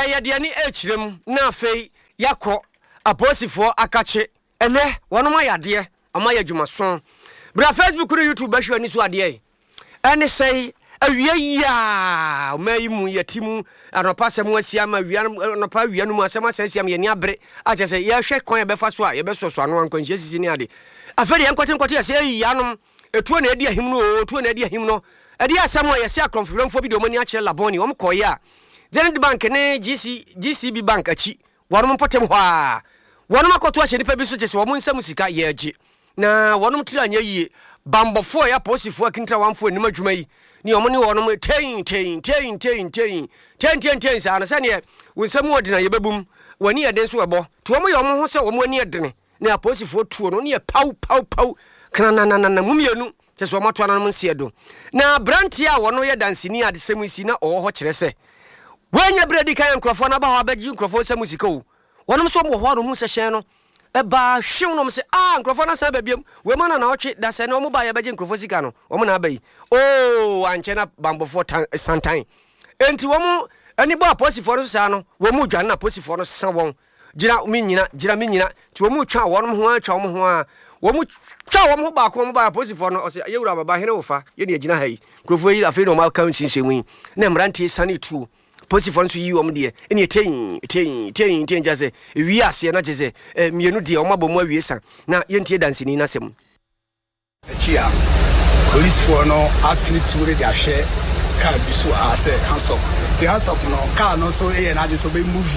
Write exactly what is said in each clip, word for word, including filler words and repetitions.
Yɛde ani ɛkyerɛ mu na afei yɛakɔ apolisifoɔ akakye. Ɛnɛ wɔnom ayɛ adeɛ, ɔmo ayɛ adwumaso. Bra Facebook ne YouTube bɛhwɛ ani so adeɛ yi ɛne sɛe awia yi a ɔma yi mu yɛte mu anɔpa asɛm asi ama awia, anɔpa awia no mu asɛm asɛ asi ama yɛni abere akyɛ sɛ yɛhwɛ kwan yɛbɛfa so a yɛbɛsɔsɔ ano ankwanhyia sisi ne ade. Afei deɛ yɛnkɔte nkɔte yɛsɛ ɛyi yanom etuo na ɛdi ahim no o, tuo na ɛdi ahim no. Ɛde asɛm a yɛsɛ akorɔmfo bi de wɔn ani akyerɛ Labone, wɔn kɔɔeɛ a Zenith Bank ne G C G C B Bank akyi, wɔnom mpɔtam hɔ a wɔnom akɔto ahyɛ nipa bi so kyɛ sɛ wɔn nsam sika yɛagye na wɔnom tiri anyɛ yie. Bambɔfoɔ a ɛyɛ apolisifoɔ akintra wanfoɔ anim adwuma yi ne ɔmo ne wɔnom tein tein tein tein tein tein tein tein saa no sɛneɛ wo nsɛm wɔ dena yɛbɛbum w'ani yɛ den so ɛbɔ nti wɔn yɛ wɔn ho sɛ wɔn ani yɛ dene na apolisifoɔ tuo no ne yɛ paw paw paw krananana mu mmienu kyɛ sɛ wɔn ato ananom nseɛ do. Na aberanteɛ a wɔno yɛ danseni a adesɛm yi si na ɔwɔ hɔ kyerɛ sɛ wɔanya berɛ di kan nkurɔfoɔ no aba hɔ abɛgye nkurɔfoɔ nsɛm sika o, wɔnom nso wɔ hɔ a no mu sɛ hyɛn no ɛbaa hwew nom sɛ a nkurɔfoɔ no asan ba biam wei ma na naɔtwe da sɛ ne ɔmo baa yɛbɛgye nkurɔfoɔ sika no, ɔmo na aba yi oo ankyɛ na bambɔfoɔ tan santan enti wɔn ani bɔ apolisifoɔ no so saa no, wɔn mu dwane na apolisifoɔ no sa wɔn gyina mi nyina gyina mi nyina nti wɔn mu twa wɔn ho atwa wɔn ho a wɔn mu twa wɔn ho baako, wɔn ba apolisifoɔ no ɔsɛ yɛwura baba hene wofa yɛne yɛgyina ha yi nkurɔfoɔ yi. Afei na wɔn aka nsinsin mu yi na mmeranteɛ sane tuo, polisifoɔ nso yi wɔn deɛ ɛne ɛtɛn tɛn tɛn tɛn kyɛ sɛ ewie aseɛ na kyɛ sɛ ɛ mmienu deɛ wɔn abɔ mu awie sa. Na yɛntie dansini n'asɛm. Akyi a polisifoɔ no atene tuo no de ahwɛ kaa bi so a sɛ handcuff nti handcuff no kaa no nso yɛ n'ade sɛ ɔbɛ move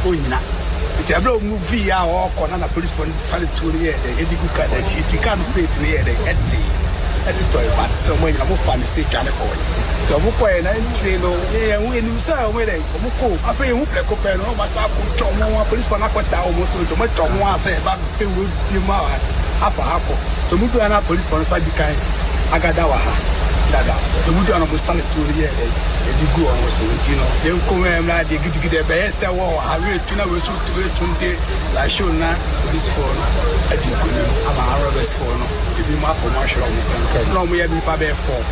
ɔnyina nti ɛberɛ a ɔmove a ɔrekɔ na na polisifoɔ no sane tuo no yɛ dɛ ɛde gu kaa n'akyi nti kaa no plate no yɛ dɛ ɛte ɛtotɔe, but still ɔmo anyina, ɔmo fa ne se dwane kɔɛ nti ɔmo kɔɛ na nkyire no yɛn ho yɛnim sɛ ɔmo yɛ dɛ ɔmo kɔ. Afei yɛn ho prɛko pɛ no ɔmo asa akɔ twa ɔmo ho, apolisifoɔ no akɔta ɔmo so nti ɔmo atwa ɔmo ho asɛ ɛba bɛ wo bie mu a afa ha kɔ nti ɔmo du ha na apolisifoɔ no nso adi kan agada wɔ ha dada nti ɔmo du ha na ɔmo sane tuo no yɛ dɛ ɛde gu ɔmo so nti no yɛn kɔn mu ɛmla deɛ gidigidi ɛbɛyɛ sɛ wɔ ha wei tu na wei so tu wei tu nti lashow na polisifoɔ no adi nkonim ama arɔbɛsfoɔ no ebi mu akɔ mu ahwɛ ɔmo na ɔmo yɛ nipa bɛyɛ four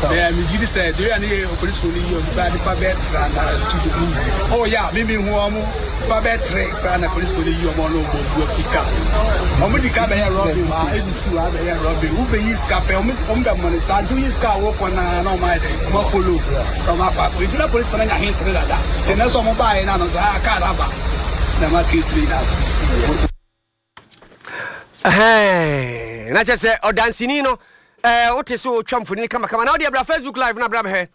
bɛyɛ. Megye di sɛ deɛ ne yɛ polisifoɔ no yi ɔmo bɛyɛ nipa bɛyɛ tra na tu de mu ɔwɔ yɛ a mímí hu ɔmo nipa bɛyɛ tere koraa na polisifoɔ no yi ɔmo ɔno ɔmo bu afi kaa ɔmo di ka bɛyɛ robbery wa esisi wa bɛyɛ robbery wobɛyi sika pɛ, ɔmo ɔmo bɛ monitor nti woyi sika a wɔkɔ naa na ɔmo ayɛ dɛ ɔmo follow na ɔmo akɔ akɔ nti na polisifoɔ no anya hint ne dada nti ɛnɛ sɛ ɔmo baayɛ na no sɛ ah kaa aba na ma case ne nyinaa so si yɛ. Ɛhɛn, na kyɛ sɛ ɔdanseni no ɛɛ wote sɛ wotwa mfonini kamakama na wode abra Facebook Live na abra bɛhwɛ.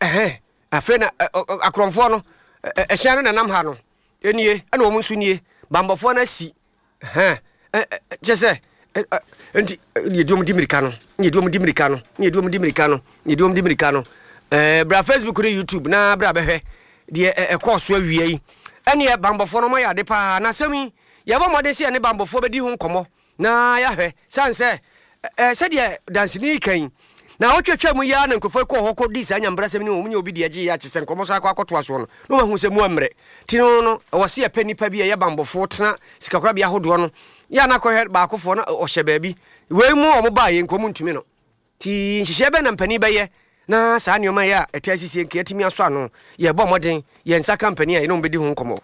Ɛhɛn, afei na akorɔmfoɔ no ɛhyɛn no nanam ha no ɛnie ɛna wɔn nso nie bambɔfoɔ no asi. Ɛhɛn, kyɛ sɛ nti yɛdi wɔn di mirika no, yɛdi wɔn di mirika no, yɛdi wɔn di mirika no, yɛdi wɔn di mirika no. ɛɛ bra Facebook ne YouTube na bra bɛhwɛ deɛ ɛkɔɔ so awia yi. Ɛneɛ bambɔfoɔ no ɔmo ayɛ ade paa na asɛm yi yɛbɔ mmɔden sɛ yɛne bambɔfoɔ bɛdi ho nkɔmmɔ na yɛahwɛ san sɛ ɛɛ sɛdeɛ danseni kan yi na wɔtwatwa mu yi ara na nkurɔfoɔ kɔɔ hɔ kɔdi saa nyambrasɛm ne wɔn nyɛ obi deɛ gye yɛ akye sɛ nkɔmmɔ so akɔ akɔtoa soɔ no na wɔahu sɛ mu ammerɛ nti no no ɛwɔ sɛ yɛpɛ nnipa bi a ɛyɛ bambɔfoɔ tena sikakorabea ahodoɔ no yɛ ana kɔhwɛ baakofoɔ na ɔhyɛ baabi wei mu a ɔmo baa yɛ nkɔmu ntumi no nti nhyehyɛ bɛ na mpanin bɛyɛ na saa nneɛma yi a ɛtɛ asisie nka yɛtumi asɔ ano. Yɛbɔ mmɔden yɛn nsa ka mpanin a yɛne wɔn bɛdi ho nkɔmmɔ.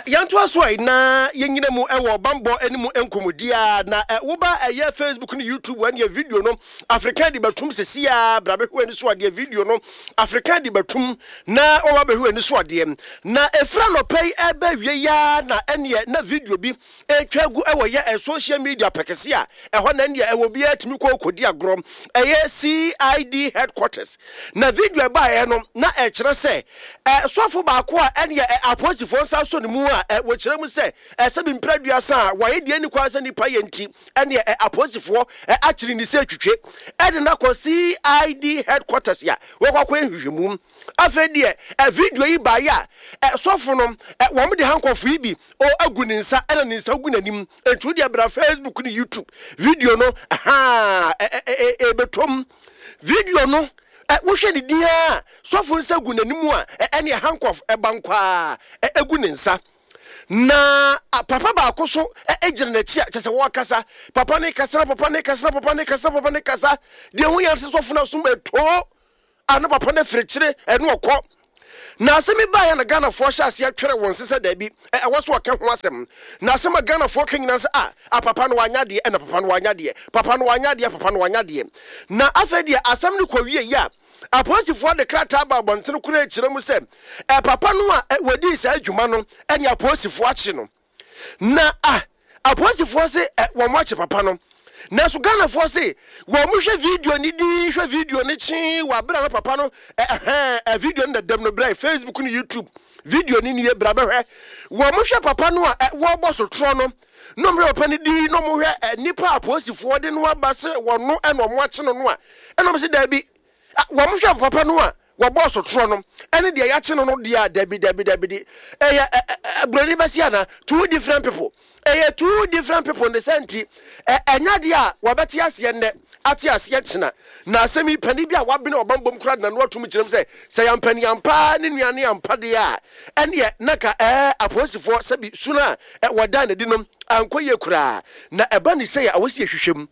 Yɛntoa so a na yɛnyina mu ɛwɔ bambɔ anim nkɔmmɔdi a na woba ɛyɛ Facebook ne YouTube ɛneɛ video no African de bɛtum sɛsi a bra bɛhwɛ ani so adeɛ. Video no African de bɛtum na wɔba bɛhwɛ ani so adeɛ na ɛfira nɔpɛ yi ɛbɛ wie ya na ɛneɛ na video bi ɛtwa gu ɛwɔ yɛ social media pɛkɛse a ɛhɔ na ɛneɛ ɛwɔ biara tumi kɔ kɔdi agorɔ ɛyɛ C I D headquarters. Na video ɛbaeɛ no na ɛkyerɛ sɛ sɔfo baako a ɛneɛ apolisifoɔ nsa so ne mu a wɔkyerɛ mu sɛ ɛsɛ bi mpira duasa a wɔayɛ deɛ ni kwan sɛ nipa yɛ nti ɛneɛ apolisifoɔ akyere ne sɛ twitwe ɛde no akɔ C I D headquarters a wɔkɔ akɔ nhwehwɛmu. Afei deɛ video yi baeɛ a sɔfo no wɔn de handcuff yi bi o agu ne nsa ɛna ne nsa gu n'anim nti deɛ bra Facebook ne YouTube video no haa ɛbɛtɔm video no wohwɛ ne din a sɔfo nsa gu n'anim a ɛne handcuff ɛba nkwaa ɛgu ne nsa na papa baako so gyina n'akyi a kyɛ sɛ wɔkasa, papa ne kasa, papa ne kasa, papa ne kasa, papa ne kasa deɛ ho yɛn sɛ sɔfo no asom ɛtoo a na papa no afirikyire ɛne ɔkɔ. Na asɛm yi baeɛ na Ghanafoɔ hyɛ aseɛ twerɛ wɔn se sɛ daabi, ɛwɔ so ɔka ho asɛm. Na asɛm a Ghanafoɔ ka nyinaa sɛ, ah, ah, papa no wanya adeɛ, ɛna papa no wanya adeɛ, papa no wanya adeɛ, papa no wanya adeɛ. Na afei deɛ asɛm no kɔ wie yi a, apolisifoɔ de krataa ba abɔntene koraa kyerɛ mu sɛ ɛ papa no a wɔdii saa adwuma no ɛne apolisifoɔ akye no. Na ah, apolisifoɔ se ɛ wɔn akye papa no. Nanso Ghanafoɔ se wɔn hwɛ video ni di hwɛ video ni kyee wɔ abere na papa no ɛhɛn ɛ video no dadam no brɛ Facebook ne YouTube video ni nie bra bɛhwɛ. Wɔn hwɛ papa no a ɛ wɔrebɔ sotorɔ no na wɔn hwɛ papa no di na wɔn hwɛ ɛ nipa a apolisifoɔ de no aba se wɔn no ɛna wɔn akye no no a ɛna wɔn se daabi, wɔn hwɛ papa no a wɔbɔ sotorɔ no ɛne deɛ yɛakye no no deɛ a dabi dabi dabi di ɛyɛ ɛ ɛ buroni bɛsi ana two different people, ɛyɛ two different people ne sɛ nti ɛnya deɛ a wɔbɛte aseɛ nnɛ ate aseɛ kyena. Na asɛm yi panin bi a wabene ɔbambom kora de n'ano atum kyerɛm sɛ sɛ yɛmpani ampa ne nua ne ampa deɛ a ɛneɛ na ka ɛɛ apolisifoɔ sɛbi su no a wɔda n'adi no ankɔ yie koraa. Na ɛba ne sɛ a wɔsi ehwehwɛ mu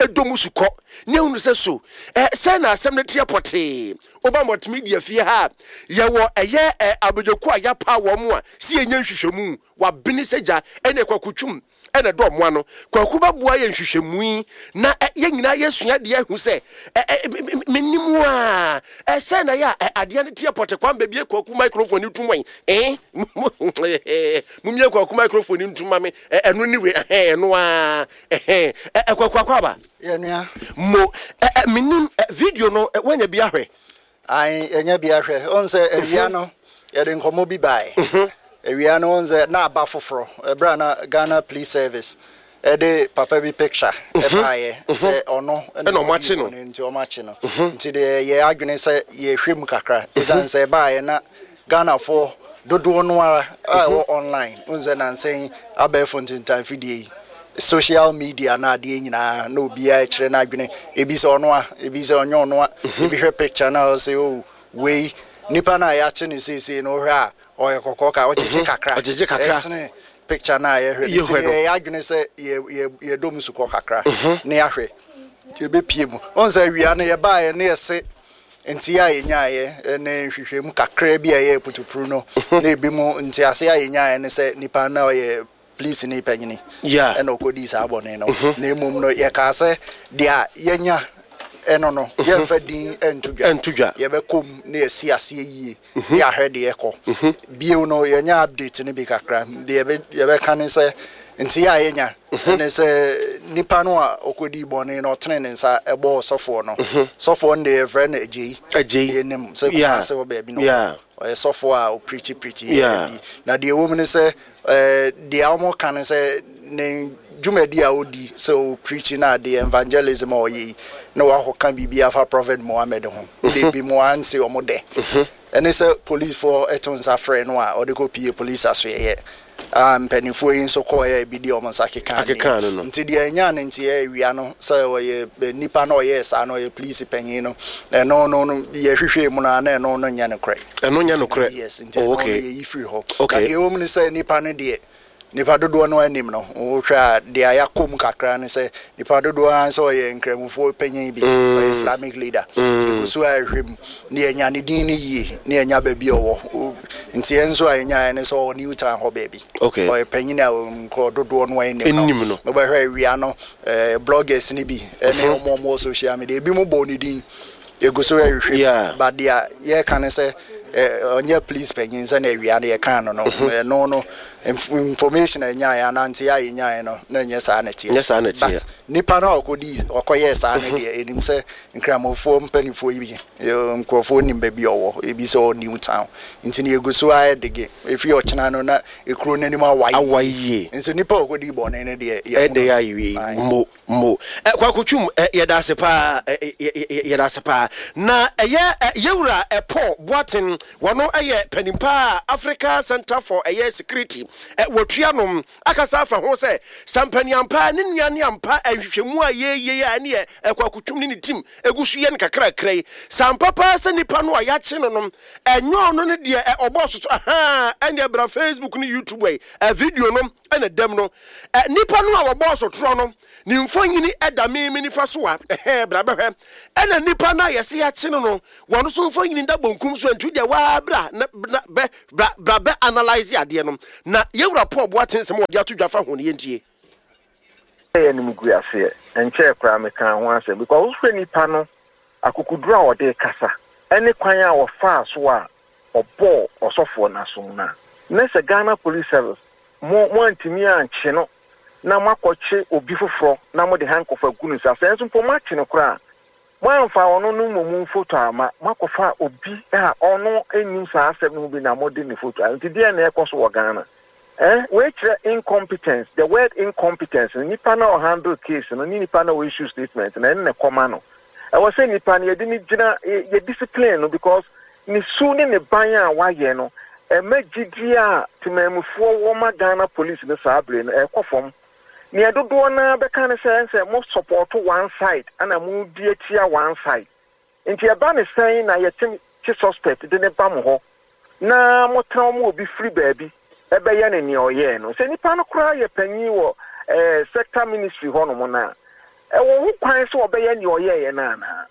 ɛdɔ su kɔ ne ehunu sɛ so ɛ sɛ na asɛm no teɛ pɔtee. Woba multimedia fie ha yɛwɔ ɛyɛ ɛ abadwako a yɛapa wɔn mu a si yɛnyɛ nhwehwɛmu wabene sɛ gya ɛne kwakutwum ɛna dɔ ɔmo ano kwaku bɛboa yɛ nhwehwɛmu yi na yɛn nyinaa yɛsua deɛ ahu sɛ ɛ menim a ɛsɛ na yɛ a adeɛ no teɛ pɔtee. Kwan baabi kwaku microphone ni tum wɔn ɛn mumie kwaku microphone ni ntum ma me ɛno ni we ɛhɛn ɛno a ɛhɛn ɛ kwaku akɔ aba yɛnua mo ɛ menim video no wɔnya bi ahwɛ. Ayi ɛnya bi ahwɛ ɔn sɛ awia no yɛde nkɔmɔ bi bae. Awia no ɔn sɛ na aba foforɔ ɛberɛ a na Ghana Police Service ɛde papa bi picture ɛbaeɛ sɛ ɔno ɛna ɔmo akye no. Nti ɔmo akye no nti deɛ yɛ adwene sɛ yɛhwɛ mu kakra ɛsiane sɛ ɛbaeɛ na Ghanafoɔ dodoɔ no ara a ɛwɔ online ɔn sɛ nansɛn abɛɛfo ntentan fidie yi social media na adeɛ nyinaa na obiara kyerɛ n'adwene, ebi sɛ ɔno a, ebi sɛ ɔnyɛ ɔno a, ebi hwɛ picture na ɔsɛ o wei nipa na yɛakye ne seesei no wohwɛ a ɔyɛ kɔkɔɔ ka ɔgyegye kakra ɔgyegye kakra ɛsene picture na yɛhwɛ no. Nti yɛyɛ adwene sɛ yɛdɔ mu sukɔ kakra na yɛahwɛ yɛbɛpie mu. Ɔn sɛ awia no yɛbaeɛ ne yɛse nti a yɛnyaeɛ ne nhwehwɛmu kakra bi a ɛyɛ putupuru no na ebi mu nti ase a yɛnyaeɛ ne sɛ nipa na ɔyɛ police ni panyini ɛna ɔkɔdii saa bɔne no. Na mmom no yɛkaa sɛ deɛ a yɛnya ɛno no yɛmfa din ɛnto dwa, yɛbɛkɔ mu na yɛsi aseɛ yie na yɛahwɛ deɛ ɛkɔ bio no. Yɛnya update no bi kakra deɛ yɛbɛka ne sɛ nti yɛ a yɛnya ne sɛ nipa no a ɔkɔdii bɔne no ɔtene ne nsa ɛbɔɔ sɔfoɔ no. Sɔfoɔ no deɛ yɛfrɛ no Agyei. Yɛnim sɛ Kumase wɔ baabi no ɔyɛ sɔfoɔ a ɔpreach preach yɛ bi. Na deɛ ɛwɔ mu ne sɛ deɛ wɔn ka ne sɛ ne dwumadi a ɔdi sɛ ɔpreach na adeɛ evangelism a ɔyɛ yi na wakɔka biribi afa Prophet Mohammed ho de bi mu anse wɔn dɛ ɛne sɛ policefoɔ ɛto nsa frɛ no a ɔde kɔ pie police asoɛyɛ a mpanimfoɔ yi nso kɔɔyɛ ebi di wɔn nsa keka no. Nti deɛ ɛnya ne nti ɛyɛ wia no sɛ ɔyɛ nipa na ɔyɛ saa na ɔyɛ police panyin no ɛno no no yɛhwehwɛ mu no a na ɛno no nyɛ nokorɛ. Ɛno nyɛ nokorɛ. Yes, nti ɛno no yɛyi firi hɔ. Na deɛ ɛwɔ mu ne sɛ nipa no deɛ nipa dodoɔ no anim no wohwɛ a deɛ yɛakɔ mu kakra ne sɛ nipa dodoɔ ara sɛ ɔyɛ nkramofoɔ panyin bi, ɔyɛ Islamic leader. Ɛgu so a ɛhwɛ mu ne yɛnya ne din no yie ne yɛnya baabi a ɔwɔ. Nti yɛn nso a yɛnyaeɛ ne sɛ ɔwɔ New Town hɔ baabi. Ɔyɛ panyin a nkurɔ dodoɔ no anim no. Wobɛhwɛ awia no bloggers no bi ne ɔmo ɔmo wɔ social media ebi mo bɔ ne din egu so ɛhwehwɛ, but deɛ yɛka ne sɛ ɔnyɛ police panyin sɛ na awia no yɛka no no ɛno no information a ɛnyaeɛ anante a yɛnyaeɛ no na ɛnyɛ saa na ɛteɛ. But nipa no a ɔkɔdi ɔkɔyɛɛ saa no deɛ ɛnim sɛ nkramofoɔ mpanimfoɔ yi bi nkurɔfoɔ nim baabi ɔwɔ, ebi sɛ ɔwɔ New Town. Nti no yɛgu so ayɛ dege efi ɔkyena no na ekuro n'anim awae awae yie. Nso nipa a ɔkɔdi bɔne no deɛ ɛde awie mo mo kwakotwum. Yɛda ase paa, yɛda ase paa. Na ɛyɛ yɛwura Paul Boaten, wɔno ɛyɛ panimpa Africa Center for ɛyɛ Security Wɔtua nom akasa afa ho sɛ sampaniampa ne nua ne ampa nhwehwɛmu a yɛyɛ a ɛne Kwaku Twum ne ne team egu so yɛ no kakrakra yi, sampa paa sɛ nipa no a yɛakye no no ɛnyɛ ɔno ne deɛ ɔbɔ soso aha. Ɛne ɛbra Facebook ne YouTube yi, video no ɛna dɛm no, nipa no a wɔbɔ sotorɔ no ne mfonyini ɛda mímí nifa so a ɛhɛn bra bɛhwɛ, ɛna nipa no a yɛsi yɛakye no no wɔn nso mfonyini da bonkum so. Ntu deɛ waa bra na na bɛ bra bra bɛ analyse adeɛ no na yɛwura Paul Boateng nsɛm a wɔde ato dwa fa ho no, yɛntie. Yɛ no mu gu aseɛ nkyɛn koraa meka ho asɛm because wohwɛ nipa no akokoduro a ɔde kasa ɛne kwan a wɔfaa so a ɔbɔɔ ɔsɔfoɔ n'asom no a, na sɛ Ghana Police Service mo mo antumi ankye no na moakɔkye obi foforɔ na mode handcuff agu no nsa, sɛ nso mpo moakye no koraa, moamfa ɔno no mmom photo ama, moakɔfa obi a ɔno nnim saa asɛm no ho bi na mode ne photo a, nti deɛ na ɛkɔ so wɔ Ghana eh wei kyerɛ incompetence. The word incompetence no, nipa na ɔhandle case no ne nipa na ɔissue statement na ɛne ne kɔma no, ɛwɔ sɛ nipa no yɛde ne gyina yɛ discipline no because ne su ne ne ban a wayɛ no ɛma gyidie a temamufoɔ wɔ ma Ghana Police no saa bere no ɛkɔ fam. Nea dodoɔ naa bɛka ne sɛ sɛ mo support one side ɛna mo di atia one side, nti ɛba ne sɛn na yɛte kye suspect de ne ba mo hɔ na motena mo obi firi baabi ɛbɛyɛ ne nea ɔyɛɛ no, sɛ nipa no koraa yɛ panyin wɔ ɛɛ sector ministry hɔnom na ɛwɔ ho kwan sɛ ɔbɛyɛ nea ɔyɛɛyɛ no anaa?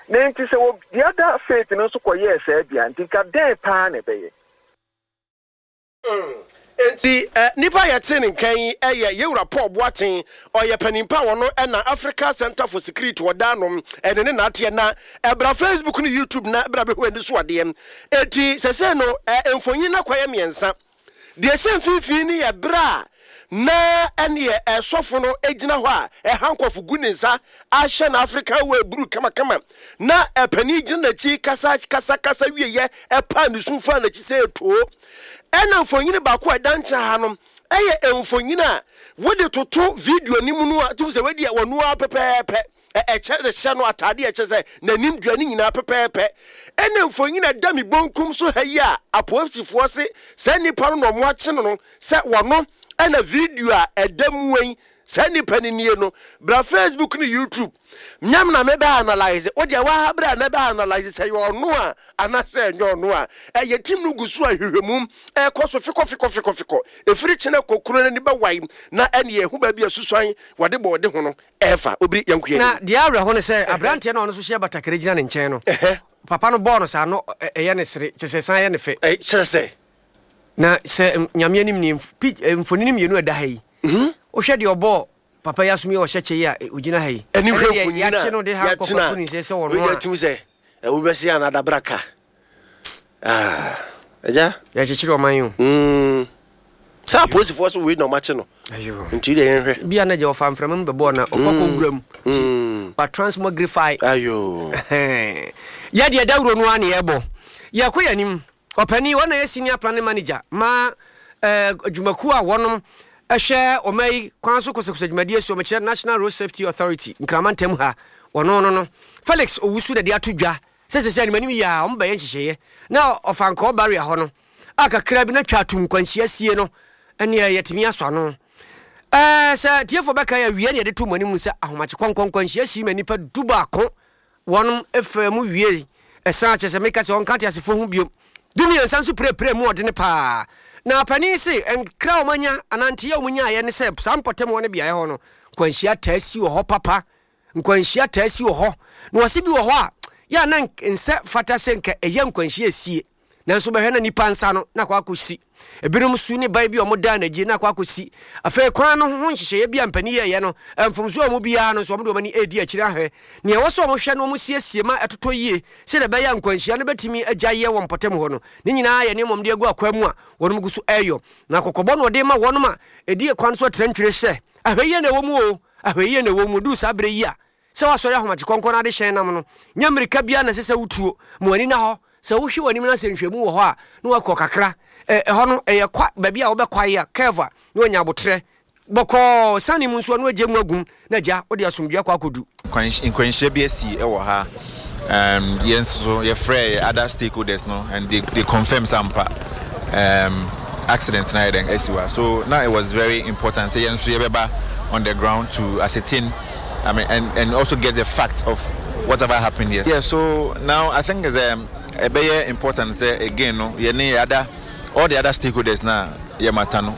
Na nti sɛ wɔ the other faith no nso kɔyɛɛ saa bia, nti nka dɛn paa na ɛbɛyɛ? Nti eh, nipa yɛte ne nkan yi ɛyɛ yɛwura Paul Boateng. Ɔyɛ panimpa a wɔno ɛna Africa Center for Security wɔda nom ɛne ne naateɛ na ɛbra Facebook ne YouTube na ɛbra bɛhwɛ ani so adeɛ. Eti sɛsɛ no ɛ mfonyin na kɔyɛ mmiɛnsa. Deɛ ɛhyɛ mfimfini no yɛ berɛ a na ɛneɛ ɛsɔfo no gyina hɔ a ɛhandcuff gu ne nsa ahyɛ no African wear blue kamakama, na ɛpanin gyina n'akyi kasa kasa kasa wieyɛ ɛpaa ne sum fa n'akyi sɛ etoo. Ɛna mfonyin baako a ɛda nkyɛn ha no ɛyɛ mfonyin a wode toto video no mu no a tum sɛ wadi a wɔn ara pɛpɛɛpɛ, ɛkyɛ de hyɛ no ataade a ɛkyɛ sɛ n'anim dua ne nyinaa pɛpɛɛpɛ. Ɛna mfonyin a ɛda mi bonkum so ha yi a apolisifoɔ se saa nipa no na ɔmo akye no no sɛ wɔno ɛna video a ɛda mu yi, saa nipa no nie no. Bra Facebook ne YouTube nyam na mebɛ analyse wo deɛ waa bra na bɛ analyse sɛ yɛ ɔno a anaasɛ ɛnyɛ ɔno a. Ɛyɛ team no gu so a hwehwɛmu ɛkɔ so fikɔ fikɔ fikɔ fikɔ ɛfiri kyena kɔkuro no ani bɛwae na ɛne ɛho baabi a susuan wɔde bɔ ɔde ho no ɛɛfa obiri yɛnkoyɛ. Na deɛ awerɛho ne sɛ aberanteɛ no a ɔno nso hyɛ batakari gyina ne nkyɛn no, papa no bɔɔ no saa no, ɛyɛ ne sere kyɛ sɛ san yɛ ne fɛ. Kyerɛ sɛ na sɛ Nyame anim ne mfonini mmienu a ɛda ha yi, wohwɛ deɛ ɔbɔɔ papa yi asom yi a ɔhyɛ kyɛ yi a ɔgyina ha yi, ɛne hwɛ deɛ mfonini a yɛakye no de ha yɛakye nkɔfa kuni sɛ sɛ ɔno a a tumi sɛ wobɛsi anadabraka agya. Yɛkyekyere ɔman yi o. Mm. Sɛ apolisifoɔ so wei na ɔmakye no. Ayo. Nti deɛ yɛnhwɛ. Bia na gya ɔfa mframa mu bɛbɔɔ na ɔkɔ kɔ wura mu nti wa transmogrify. Ayo. Yɛdeɛ dawuro no a ne yɛbɔ yɛkɔ yɛ anim. Ɔpani wɔn na yɛ senior planning manager ma eh, adwumakuo a wɔnom ɛhwɛ ɔma yi kwan so kosɛkosɛ dwumadie so, ɔmɛkyerɛ National Road Safety Authority Nkrama ntam ha, wɔno no no Felix Owusu na de ato dwa sɛ sɛ sɛ animanim yi a ɔmo bɛyɛ nhyehyɛeɛ na ɔfa nkɔɔ barrier hɔ no a kakra bi na twa atum nkwanhyia sie no ɛneɛ yɛtumi asɔ ano. ɛɛ sɛ tiefo bɛka yɛ awie ne yɛde to mo anim sɛ ahomakye kɔnkɔn nkwanhyia si ma nipa du baako wɔnom efa mu wie, ɛsan kyerɛ sɛ meka sɛ ɔnka te asefo ho biom, du mmiɛnsa nso pirepire mu ɔdene paa. Na panin se nkra a wɔanya ananteɛ a wɔnyaeɛ ne sɛ saa mpɔtam hɔ no beaeɛ hɔ no nkwanhyia taa si wɔ hɔ papa, nkwanhyia taa si wɔ hɔ, na wɔse bi wɔ hɔ a yɛ a na nsɛ fata sɛ nka ɛyɛ nkwanhyia esie, nanso bɛhwɛ na nipa nsa no na akɔ akɔsi ebinom su ne ban bi a wɔn da n'agyi na akɔ akɔsi. Afei kwan no ho nhyehyɛeɛ bi a mpanin yɛɛyɛ no, mfomso a wɔn biara no nso wɔn de wɔn ani edi akyire ahwɛ nea ɛwɔ sɛ wɔn hwɛ no, wɔn siesie ma ɛtotɔ yie sɛdeɛ ɛbɛyɛ a nkwanhyia no bɛtumi agya yɛ wɔ mpɔtam hɔ no. Ne nyinaa yɛ nneɛma wɔn de agu akwan mu a wɔn gu so ɛreyɔ. Na kɔkɔbɔ no ɔde ma wɔn a ɛdi kwan so atrantwere sɛ ahwɛ yie na ɛwɔ mu o, ahwɛ yie na ɛwɔ mu. Duru saa berɛ yi a sɛ wasɔre ahomakye kɔnkɔn no ade hyɛn nam no, nyɛ mmirika biara na ɛsɛ sɛ wotuo ma w'ani na hɔ sɛ wohwɛ w'anim no sɛ nhwɛmu wɔ hɔ a na wakɔ kakra. Ɛhɔ no ɛyɛ kwa baabi a wobɛkwae a curve a na wanya abotrɛ bɔkɔɔ sane mu nso a na wagye mu agum na agya wode asomdua akɔ akɔdu. Nkwanhyia bi asi wɔ ha. um, yɛn nso so yɛfrɛ other stakeholders no and they, they confirm sɛ ampa um, accident na ayɛ dɛn asi wɔ ha. So na it was very important sɛ yɛn nso yɛbɛba on the ground to ascertain, I mean, and and also get the facts of whatever happened here. Yeah, so now I think it's um, ɛbɛyɛ important sɛ again no yɛne other all the other stakeholders na yɛmata no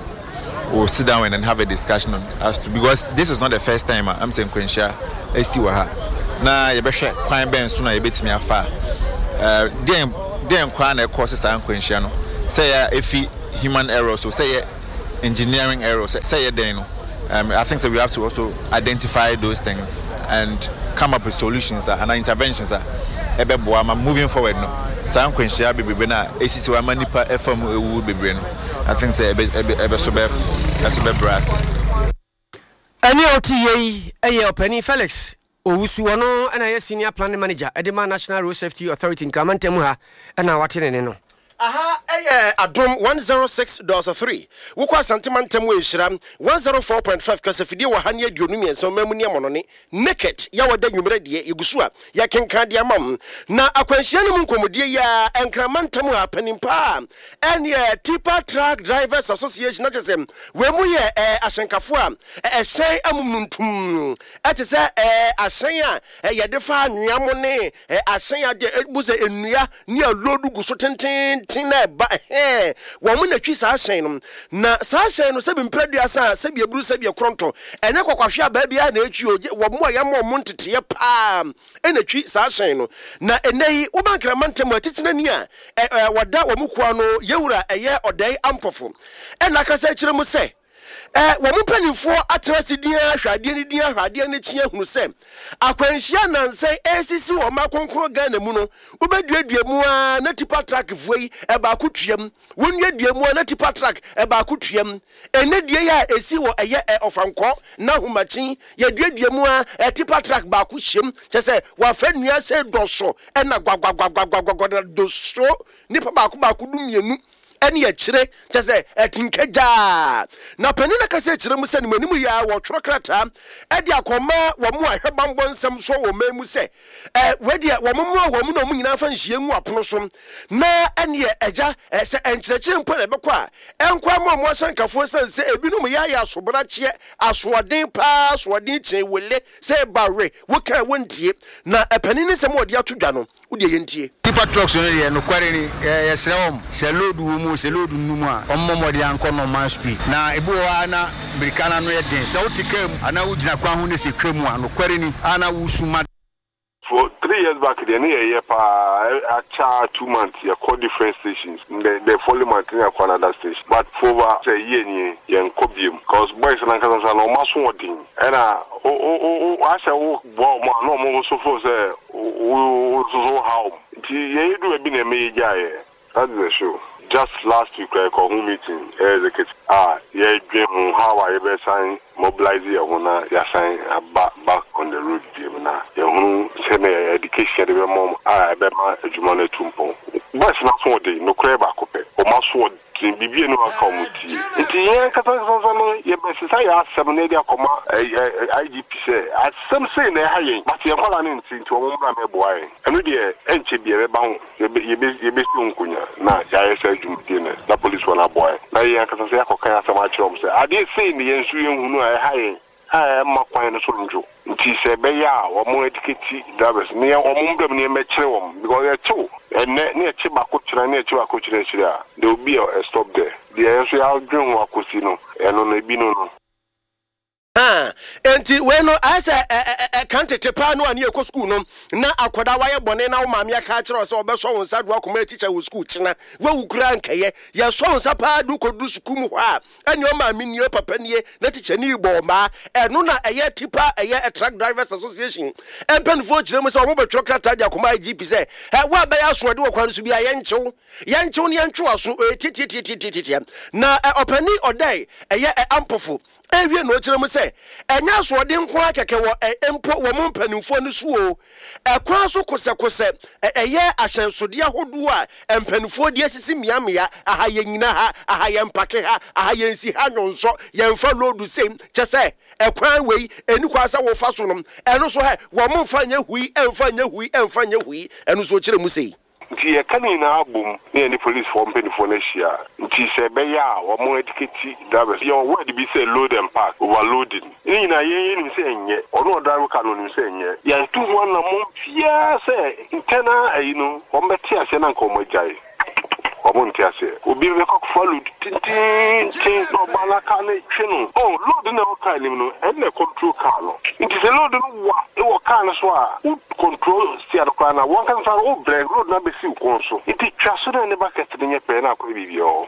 will sit down and then have a discussion on as to, because this is not the first time I'm saying nkwanhyia esi wɔ ha, na yɛbɛhwɛ kwan bɛn so na yɛbɛtumi afa ɛɛ deɛn deɛn kwan na ɛkɔ sɛ saa nkwanhyia no, sɛ yɛ efi human error, so sɛ yɛ engineering error, sɛ sɛ yɛ dɛn no, um, I think so we have to also identify those things and come up with solutions uh, and interventions a ɛbɛboa ma moving forward no saa nkwanhyia bebrebe na esisi hɔ ama nipa ɛfa mu ewu bebree no, I think sɛ ɛbɛ ɛbɛ ɛbɛ so bɛ ɛso bɛbrɛ ase. Ɛne a ɔte yie yi ɛyɛ Ɔpanin Felix Owusu, ɔno ɛna yɛ senior planning manager ɛde ma National Road Safety Authority Nkramantam ha, ɛna wate ne ne no. Aha ɛyɛ Adom one oh six point three. Wokɔ Asantema ntam wɔ Nhyira one oh four point five kasafidie wɔ ha ne aduonu mmiɛnsa ɔma mu ne amɔnɔne naked yɛwɔ da nwummerɛ deɛ yɛgu so a yɛkenka deɛ ama m na akwanhyia no mu nkɔmmɔdie yi a Nkrama ntam a panin paa ɛneɛ Tipper Truck Drivers Association na kyɛ sɛ wei mu yɛ ɛ, ahyɛnkafoɔ a ɛ, ɛhyɛn amum no ntum ɛte sɛ ɛ, ahyɛn a ɛ, yɛde fa anwea mo ne ɛ, ahyɛn a deɛ ɛbu sɛ nnua ne aloodu gu so tententen na ɛba ɛhɛn wɔn mo na twi saa ahyɛn no. Na saa ahyɛn no, sɛbi mprɛduasa a sɛbi eburu sɛbi ɛkorɔntɔ ɛnyɛ kɔkɔhwe abaa biara na etwi o, wɔn mo a yɛama wɔn nteteɛ paa ɛna twi saa ahyɛn no. Na ɛnɛ yi woba Nkrama ntɛm a titire ni a ɛ ɛ wɔda wɔn kua no, yɛwura ɛyɛ Ɔdɛn Ampɔfo, ɛna akasa akyerɛ mu sɛ ɛ wɔn mpanimfoɔ atena ase din ahwɛ adeɛ no din ahwɛ adeɛ no akyi ahunu sɛ akwanhyia nansan ɛresisi wɔ ɔman kronkron Ghana mu no, wobɛduadua mu a na tipper truck foɔ yi ɛbaako tuam, wɔnnuadua mu a na tipper truck ɛbaako tuam. Ɛnɛ die yi a ɛsi wɔ ɛyɛ ɛ Ɔfankɔ na Ahomakyen, yɛduadua mu a ɛ tipper truck baako hyɛm, kyɛ sɛ wafa nnua sɛ dɔso ɛna gwagwagwagwagwagwa na doso nipa baako baako du mmienu ɛne akyire, kyɛ sɛ ɛtinka gyaa. Na panin no kasa akyerɛ mu sɛ ne mu anim yi a wɔtwerɛ krataa ɛde akɔma wɔn a ɛhwɛ bambɔ nsɛm so wɔ ɔman mu sɛ ɛ wɔdeɛ wɔn mmoa wɔn na wɔn nyinaa fa nhyia ngu apono so na ɛneɛ ɛgya ɛ sɛ nkyerɛkyerɛ mpo na ɛbɛkɔ a ɛnkɔ ama wɔn ahyɛnkafoɔ sɛn sɛ ebinom yɛ ayɛ asobrakyeɛ, asoɔden paa, asoɔden kyɛn wele sɛ ɛba we woka wɔntie. Na ɛpanin ne nsɛm a wɔde ato dwa no, wodeɛ yɛntie. Tipper trucks no deɛ, nokware ni, yɛsrɛ wɔm sɛ load wɔ mu, sɛ load nnu mu a, ɔmmɔ mmɔden ankɔ normal speed. Na ebi wɔ hɔ a na mirika no ano yɛ den sɛ wote kaa mu anaa wogyina kwan ho ne sɛ twa mu a, nokware ni a na wosu ma. For three years back deɛ ne yɛyɛ paa akyɛ two months yɛkɔ different stations, the the following month ne yɛkɔ another station, but for over sɛ yie nie yɛnkɔ biem because boys nankasa sa na ɔmo aso ɔden ɛna o o o asɛ wo boa ɔmo a na ɔmo nso fo sɛ wo wo nso so ha ɔmo, nti yɛyɛ du baabi na ɛmɛ yɛ gya yɛ. That is the show. Just last week kora yɛkɔ ho meeting, ɛyɛ executive a yɛdwen ho how a yɛbɛsan mobilize yɛn ho na yɛasan aba back on the road bio na yɛhunu sɛnea education yɛde bɛma ɔmo a ɛbɛma adwuma no atu mpɔn. Boys no aso ɔden, nokorɛ baako pɛ, ɔmo aso ɔden, biribi enu aka ɔmo tie, nti yɛn kasa kasa no yɛbɛsesa yɛ asɛm na yɛde akɔma I G P sɛ asɛm sei na ɛha yɛn, but yɛn nkɔla ne nti nti ɔmo mmra mɛboa yɛn. Ɛno deɛ ɛnkyɛ bi ɛbɛba ho, yɛbɛsi nkonnwa na yɛayɛ sɛ adwumadie no na police wɔn aboa yɛn na yɛn ankasa sɛ yɛakɔka yɛn asɛm akyerɛ wɔn sɛ adeɛ sei ne yɛn nso yɛnhunu a ɛha yɛn a ɛma kwan no so ndwo, nti sɛ ɛbɛyɛ a wɔn educate drivers ne yɛn wɔn mbɛm ne yɛn wɔn, because yɛkyew ɛnɛ ne yɛkye baako kyerɛ ne yɛkye baako kyerɛ akyire a, there will be a, a stop there. Deɛ yɛn nso yɛadwen ho akɔsi no, ɛno no ebi no no. Enti wei no ayɛ sɛ ɛka tete paa no a ne yɛkɔ sukuu no na akwadaa wayɛ bɔne na wo maame aka akyerɛ wo sɛ ɔbɛsɔ wo nsa do akɔma atikya wɔ sukuu kyena wawu koraa nkɛyɛ yɛsɔ wo nsa paa de wokɔduru sukuu mu hɔ a, ɛne ɔmaame nie, papa nie, na tikya ni bɔ ɔmaa. Ɛno na ɛyɛ tipper ɛyɛ Truck Drivers Association mpanimfoɔ kyerɛ mu sɛ ɔmo bɛtwerɛ krataa de akɔma I G P sɛ ɛ wo a bɛyɛ asoɔde wɔ kwan no so bi a, yɛnkyew yɛnkyew ne yɛntwe w'aso ɛyɛ tiatiatiatiatia. Na ɔpani Ɔdɛe ɛyɛ Ampɔfo ewie na ɔkyerɛ mu sɛ ɛnyɛ asoɔden nko ara kɛkɛ wɔ ɛ mpo wɔ mo mpanimfoɔ no so o, ɛkwan so kosɛkosɛ ɛyɛ ahyɛnsodeɛ ahodoɔ a mpanimfoɔ de asisi mmeammea aha, yɛn nyina ha aha, yɛn mpake ha aha, yɛn si ha nwonsɔ, yɛmfa load sei, kyɛ sɛ ɛkwan wei ɛni kwan sɛ wɔfa so no, ɛno so hɛ wɔn mo mfa nyɛ hui, ɛmfa nyɛ hui, ɛmfa nyɛ hui. Ɛno so ɔkyerɛ mu sei. Nti yɛka ne nyinaa abom na yɛne policefoɔ mpanimfoɔ no ahyia. Nti sɛ ɛbɛyɛ a wɔn educate drivers. Yɛwɔ word bi sɛ load and park, overloading. Ne nyinaa yɛn yɛnim sɛ ɛnyɛ. Ɔno ɔdrive car no onim sɛ ɛnyɛ. Yɛnto ho anammɔn biara sɛ internal ayi no wɔn bɛte aseɛ na nka wɔn agyae. Wɔn nte aseɛ. Obi bɛkɔ akɔfa load tententen na ɔba na car no twe no. Oh, load na ɛwɔ car anim no, ɛno na control car no. Nti sɛ load no wa ɛwɔ car no so a, wo control steer no koraa na wɔn ankasa wo brɛ load no abɛsi wo kɔn so. Nti twa so na ne bucket no nyɛ pɛɛ na akɔyɛ biribi wɔ hɔ.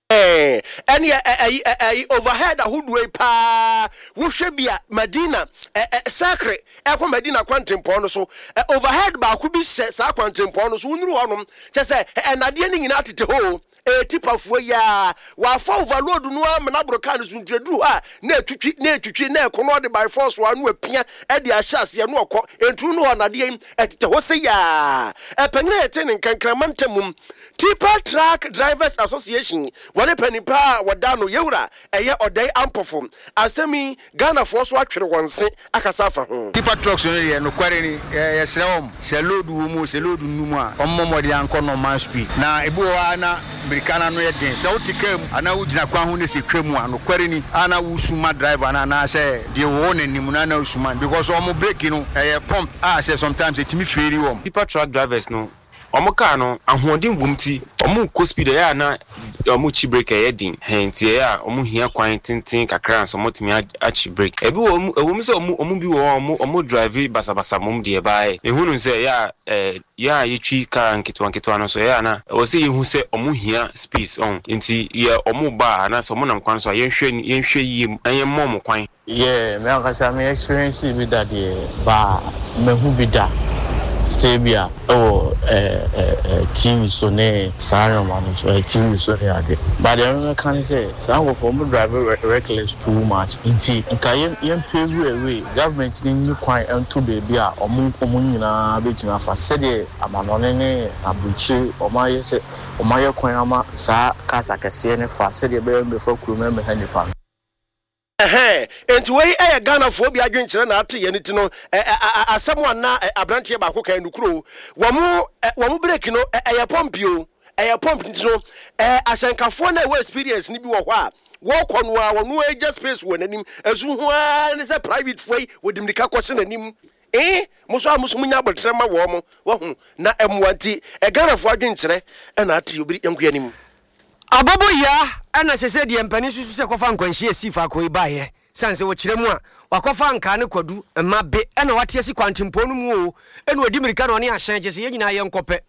Ɛne ɛyi ɛyi overhead ahodoɔ yi paa, wohwɛ bi a, Madina ɛ Sakre ɛkɔ Madina kwantempɔn no so, overhead baako bi hyɛ saa kwantempɔn no so. Wonuru hɔnom kyɛ sɛ ɛnadeɛ no nyinaa tete hɔ o, ɛyɛ tipafoɔ yi a wafa overload no ama n'aboro kaa no so. Nti aduru hɔ a, na etwitwi na etwitwi na ɛko no ɔde by force wa no apia ɛde ahyɛ aseɛ no ɔkɔ nturu no hɔ. Nadeɛ yi ɛtete hɔ sɛ yaa ɛpanyin a yɛte ne nkankrama ntam Tipper Truck Drivers Association, wɔne panin pa a wɔda no yɛwura ɛyɛ Ɔdɛn Ampɔfo. Asɛm yi, Ghanafoɔ so atwere wɔn se akasa afa ho. Tipper trucks no deɛ, nokware ni, yɛsrɛ wɔn, sɛ load wɔ mu, sɛ load nnu mu a, ɔmmɔ mmɔden ankɔ normal speed. Na ebi wɔ hɔ a, na mmirika no ano yɛ den. Sɛ wote kaa mu anaa wogyina kwan ho ne sɛ twa mu a, nokware ni, a na wosuma driver no anaasɛ deɛ wɔwɔ n'anim no ana wosuma no, because ɔmo brake no ɛyɛ pump a sɛ sometimes ɛtumi fail wɔm. Tipper truck drivers no, ɔmo kaa no ahoɔden wom, ti ɔmo kɔ speed ɛyɛ a na ɔmo kyi brake ɛyɛ den hɛn, nti ɛyɛ a ɔmo hia kwan tenten kakra nso ɔmo tumi akyi brake. Ebi wɔ ɔmo, ɛwɔ mu sɛ ɔmo ɔmo bi wɔ hɔ a ɔmo ɔmo drive basabasa mom deɛ, baayɛ ehunu sɛ ɛyɛ a ɛɛ yɛn a yɛtwi kaa nketewa nketewa no so, ɛyɛ a na ɛwɔ sɛ yɛhu sɛ ɔmo hia space ɔn, nti yɛ ɔmo ba a anaasɛ ɔmo nam kwan so a, yɛnhwɛ yɛnhwɛ yie na yɛmmɔ ɔmo kwan. Yeah, me ankasa me experience bi da deɛ, ba mehu bi da sɛ bi a ɛwɔ ɛɛ ɛɛ T V so ne saa nneɛma no so, ɛɛ T V so ne ade. But deɛ mɛka ne sɛ saa nkurɔfoɔ, ɔmo drive reckless too much, nti nka yɛn yɛn pave away, government ne nyi kwan nto beebi a ɔmo ɔmo nyinaa bɛtumi afa, sɛdeɛ amanɔne ne aburukyire ɔmo ayɛ sɛ ɔmo ayɛ kwan ama saa cars akɛseɛ ne fa, sɛdeɛ ɛbɛyɛ mbɛfa kurom ɛmɛha nipa no. Ɛhɛn, nti wei ɛyɛ Ghanafoɔ bi adwenkyerɛ na ate yɛn ti no. Asɛm a na aberanteɛ baako kan nukuro, wɔn wɔn brake no ɛyɛ pump o, ɛyɛ pump, nti no ɛɛ ahyɛnkafoɔ na ɛwɔ experience ni bi wɔ hɔ a wɔkɔ no a, wɔn agya space wɔ n'anim ɛso ho ara ne sɛ private foɔ yi wɔde mirika kɔhyɛ n'anim. Ee, mo so a mo so mo nya abɔtire ma wɔn mo wɔho na ɛmoa, nti ɛGhanafoɔ adwenkyerɛ ɛna ate obi yɛnko anim. Abɔbɔ yia ɛna sɛ sɛ deɛ mpanin susu sɛ kɔfa nkwanhyia si faako yi baeɛ, sane sɛ wɔkyerɛ mu a wakɔfa nkaa ne kwadu mma be ɛna wate asi kwantempɔn no mu o, ɛna ɔdi mmirika na ɔne ahyɛn kyɛ sɛ yɛn nyinaa yɛnkɔpɛ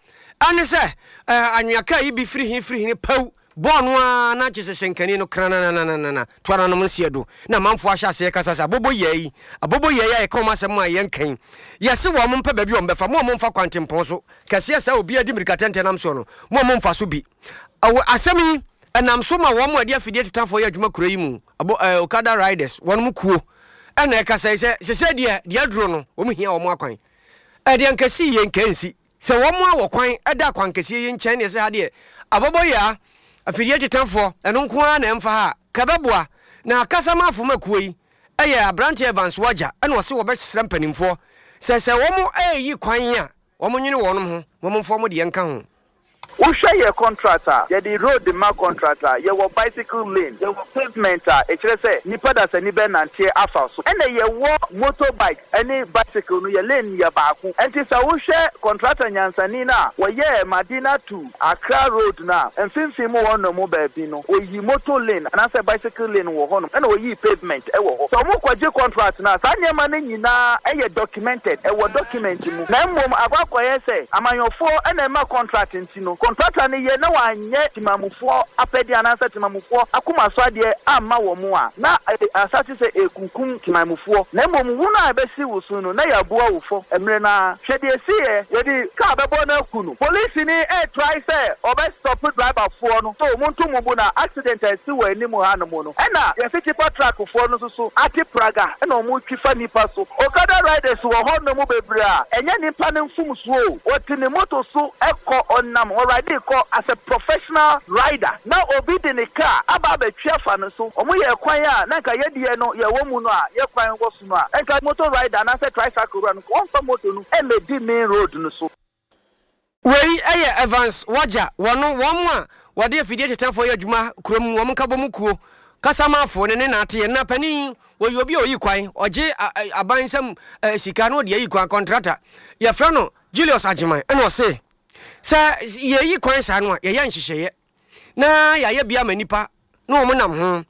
ɛne sɛ anwea kaa yi bi firi he firi he paw bɔɔl no a, na kyɛ sɛ hyɛnkani no kranananana to ananom nseɛ do na amanfoɔ ahyɛ aseɛ kasa sɛ abɔbɔ yia yi, abɔbɔ yia yi a yɛka wɔn asɛm a yɛnkan yɛse wɔn mo mpɛ baabi a wɔn bɛfa mo a momfa kwantempɔn so kɛseɛ sɛ obi adi mmirika tɛntɛn nam soɔ no, mo a momfa so bi. Ɛwɔ asɛm yi ɛnam so ma wɔn a ɛde afidie tetafoɔ yɛ adwuma kuro yi mu, abo ɛɛ Okada riders, wɔn mu kuo ɛna ɛkasa yi sɛ sɛsɛ deɛ deɛ aduro no, wɔn hia wɔn akwan. Ɛdeɛ nkɛse yie nkɛnsi sɛ wɔn a wɔ kwan ɛda akwan kɛseɛ yi nkyɛn deɛ, sɛ ha deɛ abɔbɔ yɛ a afidie tetafoɔ ɛno nko ara na ɛmfa ha kɛbɛboa. Na kasama afoma kuo yi ɛyɛ aberanteɛ Evans Wagya, ɛna ɔse wɔbɛsrɛ mpanimfoɔ sɛ sɛ wɔn ɛreyi kwan a, wɔn nwene wɔn ho, wɔn mfa wɔn deɛ nka ho. Wohwɛ yɛ contract a yɛde road ma contract a, yɛwɔ bicycle lane, yɛwɔ pavement a ɛkyerɛ sɛ nipa dasani bɛnanteɛ afa so, ɛna yɛwɔ motorbike ɛne bicycle no, yɛ lane yɛ baako. Ɛnti sɛ wohwɛ contractor nyansani no a wɔyɛɛ Madina to Accra road no a, mfimfini mu hɔ nom baabi no, oyi motor lane anaasɛ bicycle lane wɔ hɔnom, ɛna oyi pavement ɛwɔ hɔ. Sɛ ɔmo kɔgye contract no a, saa nneɛma no nyinaa ɛyɛ documented, ɛwɔ document mu. Na mmom akɔ akɔyɛ sɛ amanyɔfoɔ ɛna ɛma contract, nti no contractor no yɛ na wanyɛ timamufoɔ apɛdeɛ anaasɛ timamufoɔ akoma so adeɛ amma wɔ mu a, na asase sɛ ekunkum timamufoɔ. Na mmom wo no a ɛbɛsi wo so no, na yɛaboa wo fɔ mmerɛ naa. Hwɛ deɛ esi yɛ, yɛde kaa bɛbɔ no aku no. Polisi ni ɛɛtry sɛ ɔbɛstop driverfoɔ no so mo nto mo bu na accident a esi wɔ anim ha no mu no, ɛna yɛsi tipper truck foɔ no nso so ate praga ɛna wɔn twi fa nipa so. Okada riders wɔ hɔ nom bebree a ɛnyɛ nipa no mfomsoɔ o, wɔte ne moto so ɛkɔ, ɔnam ɔride kɔ as a professional rider, na obi de ne car aba abɛtwi afa no so. Wɔn yɛ kwan a na nka yɛdeɛ no yɛwɔ mu no a, yɛ kwan wɔ so no a, nka motor rider anaasɛ tricycle wura no, wɔmfa moto no ɛmɛdi main road no so. Wei yɛ Evans Wagya, wɔno wɔn a wɔde afidie tetafoɔ yɛ adwuma kurom, wɔn nkabɔmu kuo kasamafo ne ne naateɛ. Na panin wɔyɛ obi a ɔyi kwan, ɔgye aban nsam sika na ɔde ayi kwan, kɔntrata. Yɛfrɛ no Julius Agyeman, ɛna ɔse sɛ yɛyi kwan saa no a, yɛyɛ nhyehyɛeɛ na yɛayɛ bi ama nnipa na wɔn nam ho,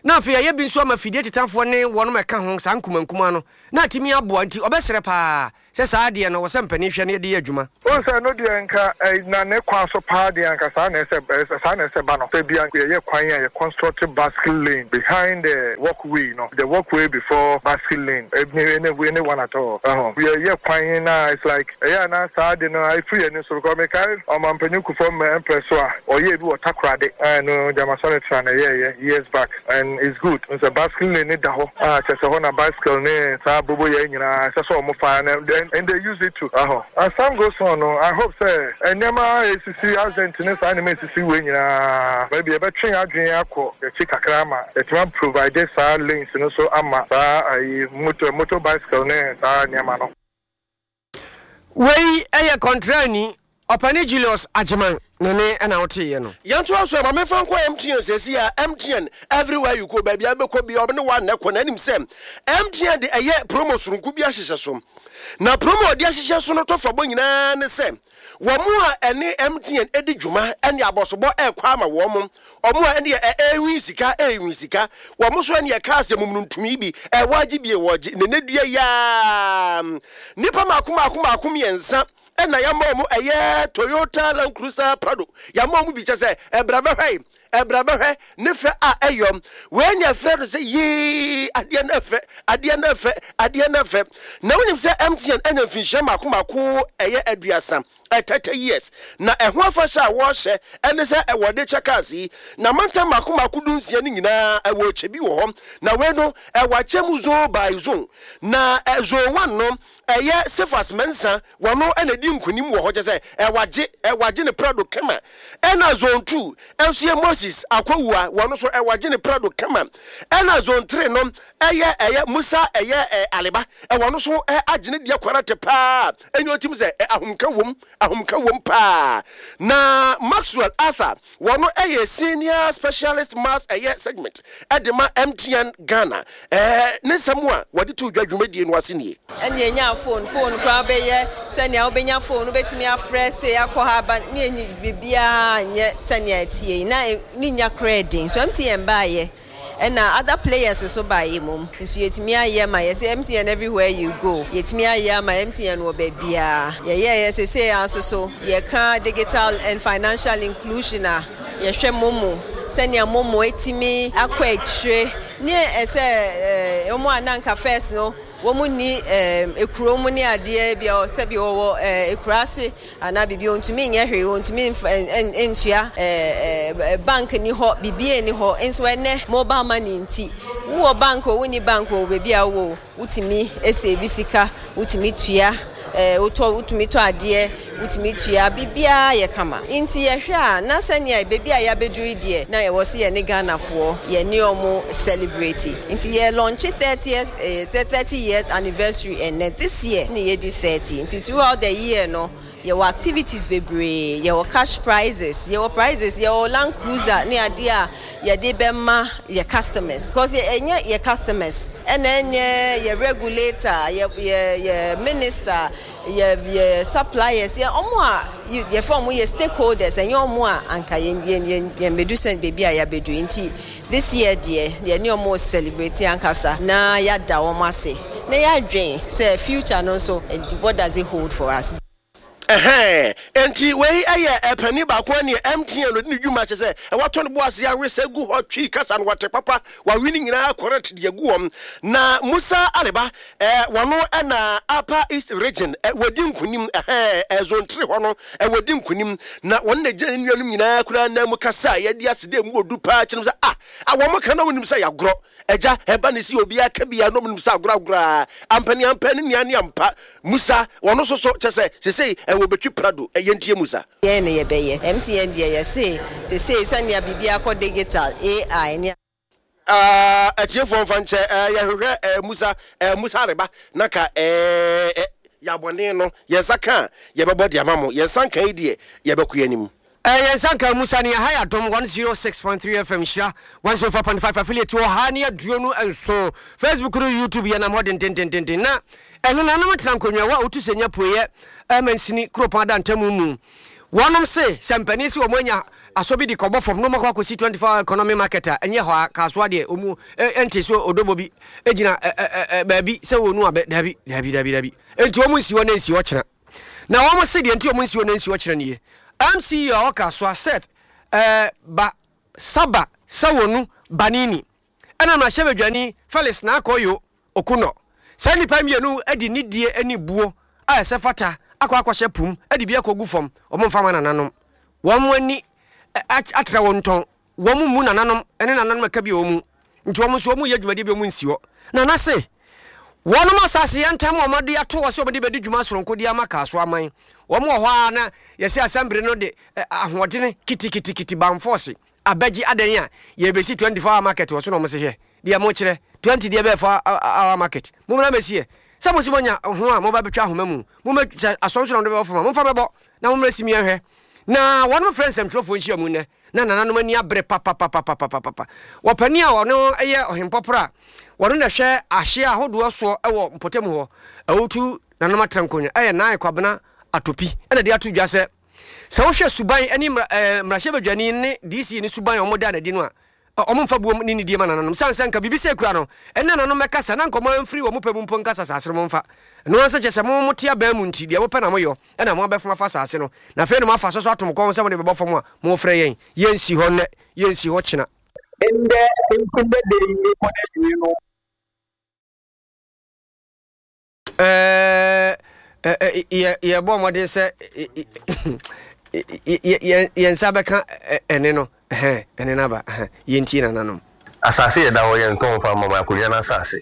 na afei yɛayɛ bi nso ama fidie tetafoɔ ne wɔnom ɛka ho saa nkumankumaa no, na atumi aboa. Nti ɔbɛsrɛ paa sɛ saa adeɛ no wɔ sɛ mpanin hwɛ na yɛde yɛ adwuma. Wohu sɛ ɛno deɛ nka na ne kwan so paa deɛ anka saa na ɛsɛ saa na ɛsɛ ba no, sɛ bia yɛyɛ kwan a yɛ construct bicycle lane behind the walkway no, the walkway before bicycle lane, any any one at all. Ɛho yɛyɛ kwan na it's like ɛyɛ a na saa ade no afiri yɛn ani so, because mekae Ɔmampanyin Kufuor mprɛ so a ɔyɛɛ bi wɔ Takoradi, ɛno gyama sɔre tra na ɛyɛɛyɛ years back, and it's good sɛ bicycle lane ne da hɔ a kyerɛ sɛ hɔ na bicycle ne saa boboyɛ nyinaa ɛsɛ sɛ ɔmo fa, and and they use it to ɛhɔ. As time goes on no, I hope sɛ nneɛma a esisi, accident ne saa nneɛma esisi wei nyinaa, baabi yɛbɛtwe adwene akɔ akyi kakra ama yɛtumi provide saa lanes no so ama saa ayi motor motor bicycle ne saa nneɛma no. Wei yɛ kɔntrani ɔpani Julius Agyeman ne ne ɛna woteeɛ no. Yɛntoa so, ma memfa nkɔ M T N sɛsi a M T N everywhere you go, baabi a bɛkɔ bia ɔne wa nnɛ kɔ na anim sɛ M T N de ɛyɛ promo soronko bi ahyehyɛ so, na promo a ɔde ahyehyɛ so no tɔfa bɔ nyinaa ne sɛ wɔn mo a ɛne M T N di dwuma ɛne abɔsobɔ ɛrekɔ ama wɔn mo, ɔmo a ɛne ɛɛwi sika ɛɛwi sika wɔn mo so, ɛne ɛka asɛ mum no ntumi bi ɛwɔ agye bie wɔgye ne ne dua yaa nipa mako mako mako mmiɛnsa ɛna yɛama ɔmo ɛyɛ Toyota Land Cruiser Prado. Yɛama ɔmo bi kyɛ sɛ ɛbra bɛhwɛ, ɛbra bɛhwɛ ne fɛ a ɛyɔm. Wei ne ɛfrɛ no sɛ yee, adeɛ no ɛfɛ, adeɛ no ɛfɛ, adeɛ no ɛfɛ. Na wonim sɛ M T N ɛna mfinhyia mako mako ɛyɛ aduasa, thirty years, na ɛho afahyɛ a wɔrehyɛ ɛne sɛ ɛwɔde kyɛ cars yi na mantam mako mako du nsia no nyinaa ɛwɔ kyɛ bi wɔ hɔ. Na wei no ɛwɔ akyɛ mu zone by zone, na ɛ zone one no ɛyɛ Cephas Mensa, wɔno ɛna di nkunim wɔ hɔ, kyɛ sɛ ɛwagye ɛwagye ne Prado kama. Ɛna zone two ɛnso yɛ Moses Akɔwua, wɔno nso ɛwagye ne Prado kama. Ɛna zone three no ɛyɛ ɛyɛ Musa ɛyɛ ɛ Aliba, ɛwɔ no so ɛ agye ne deɛ kwarate paa. Ɛnyɛ otim sɛ ɛ ahomka wom, ahomka wom paa. Na Maxwell Arthur, wɔno ɛyɛ senior specialist mass ɛyɛ segment ɛde ma M T N Ghana. Ɛɛ ne nsɛm a wɔde to dwa dwumadie no ase nie. Ɛne ɛnya phone phone koraa bɛyɛ sɛnea wobɛnya phone, wobɛtumi afrɛ se akɔ ha aba ne ɛni biribiara nyɛ sɛnea ɛtie yi na ne nya koraa den so. M T N baayɛ ɛna other players nso baayɛ mom nso yɛtumi ayɛ ma yɛsɛ M T N everywhere you go. Yɛtumi ayɛ ama M T N wɔ baabiara. Yɛyɛɛyɛ sesei a nso so yɛka digital and financial inclusion a yɛhwɛ MoMo, sɛnea MoMo etimi akɔ akyire ne ɛsɛ ɛɛ wɔn a nanka first no wɔn ni ɛɛm ekuro mu ne adeɛ bi a sɛbi wɔwɔ ɛɛ ekura ase anaa biribi, wɔntumi nyɛ hwee, wɔntumi nfa ɛn ntua ɛɛ ɛɛ bank ni hɔ, biribi ni hɔ. Nso ɛnɛ mobile money nti, wowɔ bank o, wonni bank o, beebi a wowɔ o, wotumi esave sika, wotumi tua ɛɛ wotɔ, wotumi tɔ adeɛ, wotumi tua biribiara yɛ kama. Nti yɛhwɛ a na sɛnea beebi a yɛabɛduru yi deɛ, na yɛwɔ sɛ yɛne Ghanafoɔ yɛne ɔmo celebrate. Nti yɛ launch thirtieth ɛɛ thirty years anniversary ɛnɛ. This year ne yɛdi thirty, nti throughout the year no yɛwɔ activities bebree, yɛwɔ cash prizes, yɛwɔ prizes, yɛwɔ Land Cruiser ne adeɛ a yɛde bɛma yɛ customers, because ɛnyɛ yɛ customers ɛna ɛnyɛ yɛ regulator, yɛ yɛ yɛ minister, yɛ yɛ suppliers, yɛ ɔmo a yɛfɛ ɔmo yɛ stakeholders, ɛnyɛ ɔmo a anka yɛn yɛn yɛn yɛn bɛdu sɛ beebi a yɛabɛdu. Nti this year deɛ, yɛne ɔmo celebrate ankasa na yɛada wɔn ase na yɛadwen sɛ future no nso, what does it hold for us? Ɛhɛn, nti wei ɛyɛ ɛpɛni baako ɛne M T N ɔde ne dwuma kyɛ sɛ ɛwatɔ ne bo ase awe sɛ gu hɔ twi kasa no wate papa, wawe ne nyinaa correct de agu wɔm. Na Musa Aleba, ɛɛ wɔno ɛna Upper East Region ɛ wɔdi nkunim, ɛhɛn ɛ zone three hɔ no ɛ wɔdi nkunim, na wɔn na gyina ne nuanom nyinaa koraa nan mu kasa a yɛde ase dɛ mu odu paa kyerɛ sɛ ah a wɔn ka na wɔn nim sɛ yɛagorɔ ɛgya ɛba ne si obiara ka bia na ɔmo nim sɛ agorɔ agorɔ a ampani ampa ne nua ne ampa. Musa wɔno nso so kyɛ sɛ sesei ɛwɔ bɛtwi Prado. Ɛyɛ ntie Musa. Yɛn ne yɛbɛyɛ M T N deɛ, yɛse sesei sɛnea biribi akɔ digital, A I ne atiefoɔ mfa nkyɛ, yɛhwehwɛ Musa, Musa Areba na ka Yɛabɔne no, yɛn nsa ka a, yɛbɛbɔ de ama mo. Yɛn nsa nka yi deɛ, yɛbɛkɔ yɛn anim. Ɛɛ yɛn nsa nka mu sani ɛha yɛ Adom one zero six point three F M Nhyira one zero four point five affiliate wɔ ha ne aduonu nson Facebook no YouTube yɛnam hɔ dendendendenden na ɛnenanom tena nkonnwa wɔ a wotu sɛ nya pueɛ mansini kuropɔn adantamu mu. Wɔnom se sɛ mpanin se wɔn anya asɔ bi de kɔbɔ fam na wɔn akɔ akɔsi twenty four hour economy market a ɛnyɛ hɔ a Kasoa deɛ wɔn ɛnte so odobo bi gyina baabi sɛ wɔn nu abɛ dabi dabi dabi dabi enti wɔn nsi hɔ na nsi hɔ kyena na wɔn se deɛ nti wɔn nsi hɔ na nsi hɔ kyena nie M C E a ɔwɔ Kasoa Seth ɛɛ ba Saba Sawonu Banini ɛna mmarahyɛbadwani Felix Nakoyo Okunor. Saa nnipa mmienu de nidie ne buo a ɛsɛ fata akɔ akɔhyɛ po mu de bi akɔgu fam. Wɔmfa mma nananom. Wɔn ani atra wɔn ntɔn. Wɔn mmu nananom ne nananom ɛka bi wɔ wɔn mu. Nti wɔn nso wɔyɛ dwumadie bi wɔn nsi hɔ. Nana se, wɔnom asase yɛ ntam a wɔde ato hɔ sɛ wɔde bɛdi dwuma soronko de ama Kasoa aman. Wɔn wɔ hɔ ara na yɛse asɛmbere no de ahoɔdene kitikitikiti banfɔɔse abɛgye adɛn a yɛbɛsi twenty four hour market wɔ so na wɔn se hwɛ deɛ mokyerɛ twenty deɛ bɛyɛ four hour market mommra mmɛsi ɛ sɛ mo se moanya ho a moba bɛtwa ahoma mu mommɛ sɛ asɔnso na mode bɛbɔ fam a momfa mɛbɔ na mommra si miɛnhwɛ na wɔnom frɛ nsɛmtwerɛfoɔ nhyiamu nnɛ na nananom ani abere papapapapapapa wɔpani a ɔno yɛ ɔhempɔporɔ a wɔno na ɛhwɛ ahyeɛ ahodoɔ soɔ wɔ mpɔtam hɔ awutu nananom atra nkonnwa ɛyɛ Naae Kwabena Atopi ɛna de ato dwa sɛ sɛ wohwɛ suban ne mmarahyɛbadwani ne D C ne suban a wɔda no adi no a, wɔmfa buom ne nidie ma nananom. Sane sɛ nka biribi sɛ kura no, ɛne nananom mmɛkasa na nka wɔn amfiri wɔn pɛ mu mpo nkasa asase no momfa. Ɛno ara nso kyerɛ sɛ mo mote abɛn mu nti, deɛ mopɛ na moyɔ, ɛna moabɛfom afa asase no. Na afei na moafa so so ato mo kɔn ho sɛ mode bɛbɔ fam a, morefrɛ yɛn. Yɛnsi hɔ nnɛ, yɛnsi hɔ kyena. Ndɛ ntsi ndɛ da yi rekɔ n'ewiei no, Yɛbɔ mmɔden sɛ yɛn nsa bɛka ɛne no, ɛne no aba, yɛntie nananom. Asase yɛ da hɔ yɛntɔn mfa mma ma akonnwa no asase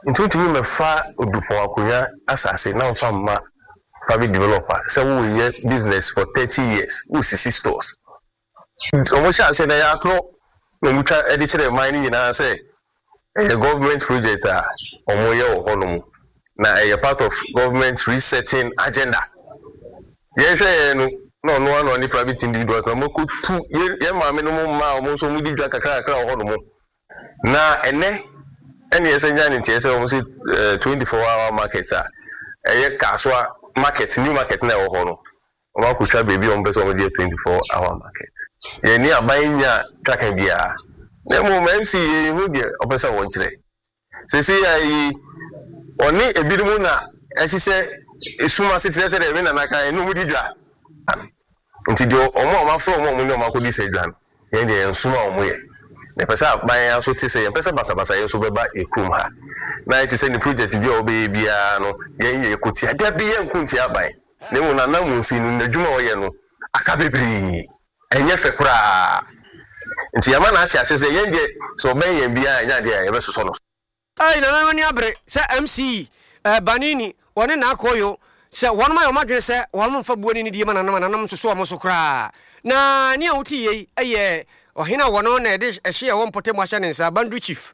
nti wontumi mmɛfa Odupɔn akonnwa asase na mfa mma private developer sɛ woreyɛ business for thirty years woresisi stores nti wɔhyɛ aseɛ no ɛyɛ atorɔ na wɔtwa de kyerɛ man no nyinaa sɛ Ɛyɛ government project a wɔyɛ wɔ hɔ nom na ɛyɛ part of government resetting agenda. Yɛn hwɛ yɛn no na ɔno ara na ɔne private individuals na wɔakɔ tu yɛn yɛn maame nom mmaa a wɔn nso wɔdi dwa kakra kakra wɔ hɔ nom. Na ɛnɛ ɛne yɛsɛ nya ne nteɛ sɛ wɔn sɛ twenty four hour market a ɛyɛ Kasoa market new market na ɛwɔ hɔ no Wɔakotwa baabi a wɔpɛ sɛ wɔde yɛ twenty four hour market. Yɛnni aban nnya twaka biara. Na mmom M C yɛnhu deɛ ɔpɛ sɛ ɔkyerɛ. Seesei ara yi, ɔne ebinom na ɛhyehyɛ esum ase te sɛ sɛdeɛ me nana kaeɛ ne wɔn di dwa. Nti deɛ wɔn a wɔafrɛ wɔn a wɔne wɔn akɔdi saa dwa no, yɛn deɛ yɛnsom a wɔyɛ. Na yɛpɛ sɛ aban ara nso te sɛ yɛmpɛ sɛ basabasayɛ nso bɛba yɛn kurom ha. Na ayɛ te sɛ ne project bi a ɔbɛyɛ biara no, yɛn yɛko tia. Dabi, yɛnko ntia aban. Na mmom n'ananmusi no, n'adwuma a ɔyɛ no, aka bebree. Ɛnyɛ fɛ koraa. Nti yɛama no ate aseɛ sɛ yɛn deɛ, sɛ ɔbɛn yɛn biara a, ɛnyɛ adeɛ a yɛbɛsosɔ no so. Ei Nana ani abere sɛ M C eh, Banini wɔne Naakoyo sɛ wɔnom ayɛ wɔn adwene sɛ wɔnom mfa buo ne nidie ma nananom a nananom nsoso wɔn so koraa. Na nea wote yei yɛ ɔhene a wɔno na ɛde ɛhye a ɛwɔ mpɔtam ahyɛ ne nsa, Boundary Chief,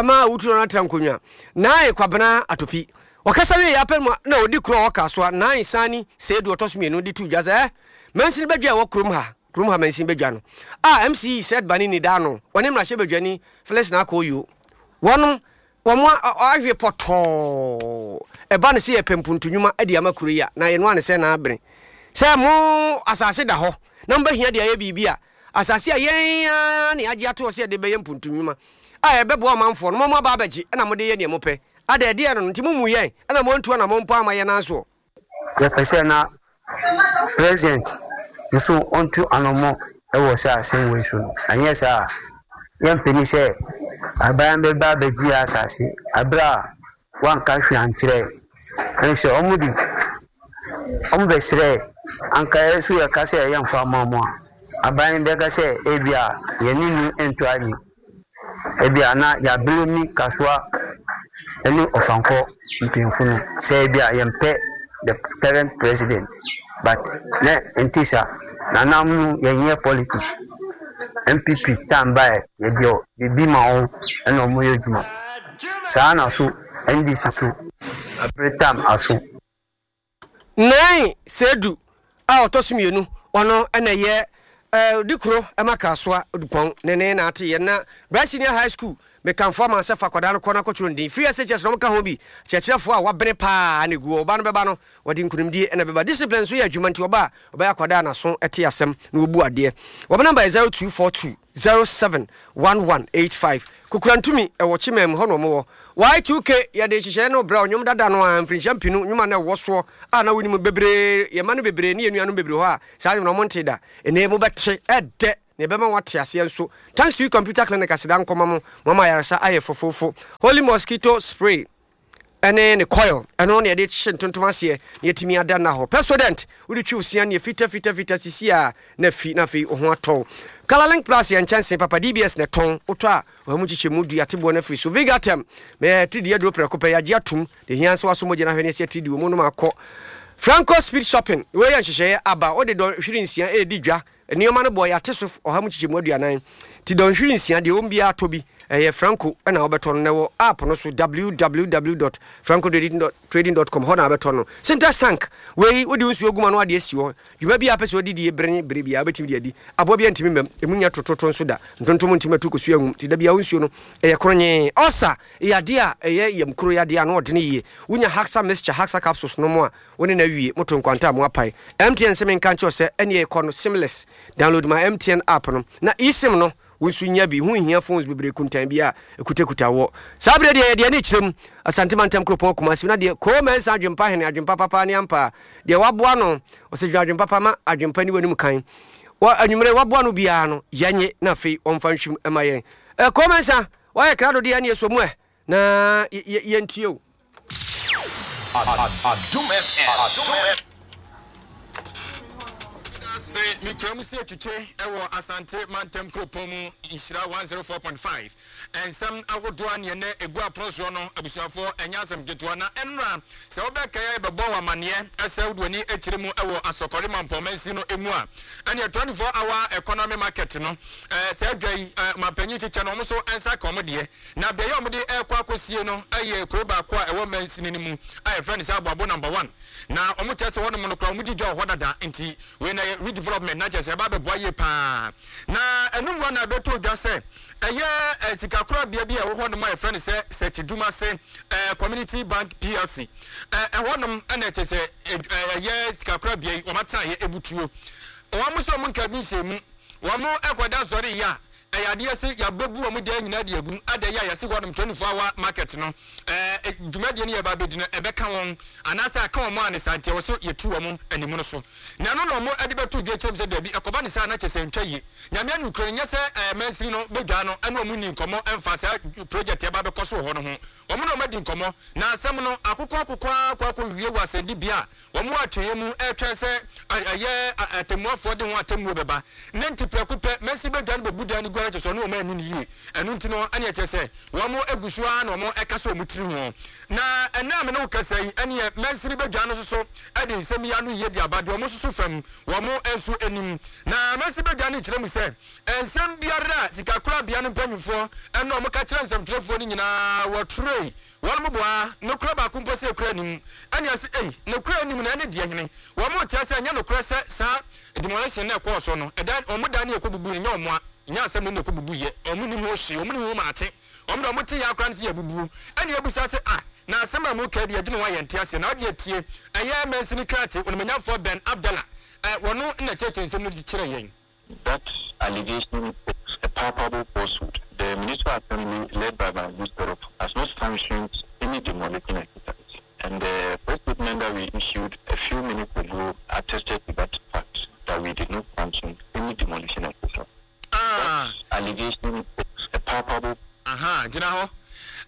ma Awutu no atra nkonnwa, Naae Kwabena Atopi. Ɔkasa wieeɛ ara pɛ na ɔdi kuro a ɔwɔ Kasoa, Naae Sani Seidu ɔtɔ so mmienu de too dwa sɛ, Eh, mansini badwa a ɛwɔ kurom ha, kurom ha mansini badwa no, a M C Seth Banini da ano, ɔne mmarahyɛbadwani Felix Naakoyo, wɔnom, wɔn awe pɔtɔɔ. Ɛba no sɛ yɛpɛ mpuntu nnwuma de ama kuro yi a, na yɛnoa no sɛ na abene. Sɛ mo asase da hɔ na mobɛhia de ayɛ biribi a, asase a yɛn ara na yɛagye ato hɔ sɛ yɛde bɛyɛ mpuntu nnwuma a ɛbɛboa ɔmanfoɔ no, mo moaba abɛgye na mode yɛ deɛ mopɛ. Ada ɛdeɛn no nti mommu yɛn na moantu anammɔn mpo amma yɛn nan soɔ? Yɛpɛ sɛ na president nso ɔntu anɔmɔ wɔ saa asɛm wei so no, anyɛ saa a yɛmpene sɛ aban bɛba abɛgye yɛn asase aberɛ a wanka hwee ankyerɛ yɛn. Ɛne sɛ wɔn de wɔn bɛsrɛ anka yɛn nso yɛka sɛ yɛmfa mma wɔn a, aban bɛka sɛ ebia yɛne no nto ani. Ebia na yɛablame Kasoa ne Ɔfankɔ mpanyimfo no sɛ ebia yɛmpɛ the current president but na ɛnte saa. Nana no yɛnyɛ politics. N P P time baeɛ yɛde biribi ma wɔn ɛna wɔyɛ adwuma. Saa na so N D C so abere time aso. Nine Seidu a ɔtɔ so mmienu, ɔno na ɛyɛ Odikuro ma Kasoa Odupɔn ne ne na ate yɛ na Bra Senior High School. Mekamfo ama sɛ fa akwadaa no kɔ na kɔtwerɛ ne din. Free S H S na wɔka ho bi. Kyerɛkyerɛfoɔ a wabene paa na ɛgu hɔ. Ɔba no bɛba no, wɔde nkunimdie na ɛbɛba. Discipline nso yɛ adwuma nti ɔba a, ɔbɛyɛ akwadaa a n'aso te asɛm na ɔbu adeɛ. Wɔn namba yɛ zero two four two zero seven one one eight five. Kukurantumi ɛwɔ Kyimɛm hɔ na wɔn wɔ. Y two K yɛde nhyehyɛeɛ no brɛ wo. Nnwom dada no ara, mfirinhyia mpenu nnwom a na ɛwɔ soɔ a na wonim bebree, yɛn mma no bebree ne yɛn nuanom bebree hɔ a saa nnwom no wɔntee da. Ɛnnɛ yi mobɛte. Ɛdɛ! Nea ɛbɛma woate aseɛ nso. Thanks to you Computer Clinic aseda nkɔma mo, moama ayaresa ayɛ fofoofo. Holy Mosquito Spray ɛne ne coil, ɛno na yɛde hye ntontom aseɛ na yɛatumi ada nna hɔ. Pepsodent, wode twi wo sea neɛ fita fita fita sisi a na afi na afei wo ho atɔ wo. Colorlink Plus yɛ nkyɛnsee papa, D B S na ɛtɔn, wotɔ a ɔha mu nkyekyɛmu du yɛate boɔ no afiri so. Vigatem, mɛyɛ atiridii aduro prɛko pɛ, yɛagye atom, deɛ hia sɛ waso mogya no ahwɛ ne ɛsɛ atiridi wɔ mu nom akɔ. Franco Speed Shopping, wei yɛ nhyehyɛeɛ aba, wode dɔnhwere nsia ɛredi dwa. Nneɛma no boɔ yɛate so ɔha mu nkyekyɛmu aduanan, nti dɔnhwere nsia deɛ wɔm biara atɔ bi, ɛyɛ Franco ɛna wobɛtɔ no na ɛwɔ app no so, W W W dot francotrading dot com hɔ na wobɛtɔ no. Sintex tank wei, wode wo nsuo gu ma no ade asi hɔ dwuma bi a pɛ sɛ wode die bere ne bere biara wobɛtumi de adi. Aboa bi antumi mmam ɛmu nya tototo nso da ntontom ntumi atu kɔsua nwum, nti da bia wo nsuo no ɛyɛ koronyee. Ɔsa ɛyɛ adeɛ a ɛyɛ yam kuro yɛ adeɛ a na ɔdene yie. Wonya Haxa mixture, Haxa capsules no mu a wo ne na awie moto nkwanta a mo apae. M T N sɛ menka nkyɛw sɛ ɛneɛ kɔ no seamless. Download my M T N app no na eSIM no wo nso nya bi ho nhia phones bebree kuntan bi a ɛkutakuta wɔ saa berɛ deɛ yɛdeɛ ne kyerɛ mu Asante mantam kuropɔn Kumasi na deɛ koo mɛnsa adwempa hene adwempa papa ne ampa deɛ waboa no ɔsɛ dwene adwempa pa ma adwempa ni w'anim kan wɔ anwummerɛ waboa no biara no yɛnye na afei ɔmfa nhwim ma yɛn. Koo mɛnsa wayɛ krado deɛ ne yɛsɔ mu ɛ na yɛntie o. Adom F M. Sɛ mekura mu sɛ atwitwe ɛwɔ Asante mantam kuropɔn mu Nhyira one oh four point five nsɛm ahodoɔ a neɛ nɛ ɛgu apono soɔ no, abusuafoɔ, ɛnyɛ asɛm ketewa. Na ɛnora sɛ wobɛkae bɛbɔ wɔ amanneɛ ɛsɛ wode w'ani akyerɛ mu ɛwɔ Asɔkɔre Mampɔmansi no mu a, ɛneɛ twenty-four hour economy market no, saa adwa yi mampanyin kyekyɛ no, ɔmo so ɛnsa ka ɔmo deɛ na beaeɛ a ɔmo ɛrekɔ akɔsie no ɛyɛ kuro baako a ɛwɔ mansini no mu a yɛfrɛ no sɛ Aboabo Number One, na ɔmo kyerɛ sɛ hɔnom no koraa ɔmo di dwa wɔ hɔ dada, nti wei na yɛ redevelopment na kyerɛ sɛ ɛba abɛboa yie paa. Na ɛnum hɔ na ɛbɛtɔ dwa sɛ ɛyɛ ɛ sikakorabea bi a ɛwɔ hɔnom a yɛfrɛ no sɛ Sɛkyidumase ɛ Community Bank P L C, ɛ ɛhɔnom ɛna ɛkyɛ sɛ ɛyɛ sikakorabea yi wɔn atena yɛ ebutuo wɔn nso wɔn nka bi nhyɛn mu wɔn ɛkɔda sɔre yi a ɛyɛ adeɛ sɛ yɛabɛbu wɔn dan nyinaa de agu ada yi a yɛsi hɔnom twenty four hour market no ɛɛ dwumadie no yɛ ba abɛdi no ɛbɛka wɔn anaasɛ aka wɔn a ne saa nti ɛwɔ so yɛtu wɔn anim no so na ɛno na wɔn ɛde bɛto dwa kyerɛm sɛ daabi, ɛkɔba ne saa na kyɛ sɛ ntwa yie. Nyame anukuro no nyɛ sɛ ɛɛ mansini no bɛdwa no ɛne wɔn ni nkɔmɔ ɛmfa saa project ɛba bɛkɔ so wɔ hɔ no ho. Wɔn na wɔn adi nkɔmɔ na asɛm no akokɔ akokɔ akɔ akɔ wie wɔ asɛnnibea a wɔn atwɛn mu ɛretwɛn sɛ ɛyɛ atemmuafoɔ de ho atemmuo bɛba ne nti prɛko pɛ mansini bɛdwa no bɛbu dan no gu ara kyɛ sɛ ɔne wɔn ani ne yie. Ɛno nti no ɛne ɛkyɛ sɛ wɔn egu so ara na wɔn ɛka sɛ wɔn tiri ho na ɛnna amene wo kasa yi ɛneɛ mansini bɛdwa no soso ɛde nsɛm yi ano yie de aba deɛ wɔn soso fam wɔn nso anim. Na mansini bɛdwa no kyerɛ mu sɛ nsɛm biara a sikakorabea no mpanyinfoɔ ɛna wɔn ka kyerɛ nsɛmtwerɛfoɔ no nyinaa wɔtwerɛ wɔn mo boa nokora baako mpo sɛ ekura anim ɛne ase ei nokora anim na ɛne deɛ hene wɔn mo kyerɛ sɛ ɛnyɛ nokora sɛ saa demolition na ɛkɔɔ so no ɛdan wɔn dan ne ɛkɔ bubu no nyɛ wɔn a nyɛ asɛm no na ɛkɔ bubu yɛ wɔn nim ho hwee, wɔn nim ho maate wɔn de wɔn te yɛ akora no sɛ yɛ bubu ɛne ebusa sɛ ah na asɛm a mo ka bi adwene ho ayɛ nte aseɛ na ɔde atie ɛyɛ mansini krakye onimanyamfoɔ Ben Abdallah ɛ wɔn na kyerɛkyerɛ nsɛm no kyerɛ yɛn. That allegation is a palpable falsehood. The Municipal Assembly, led by my good has not sanctioned any demolition exercise. And the press statement that we issued a few minutes ago attested to that fact, that we did not sanction any demolition exercise. Ah. That allegation is a palpable Aha, gyina hɔ.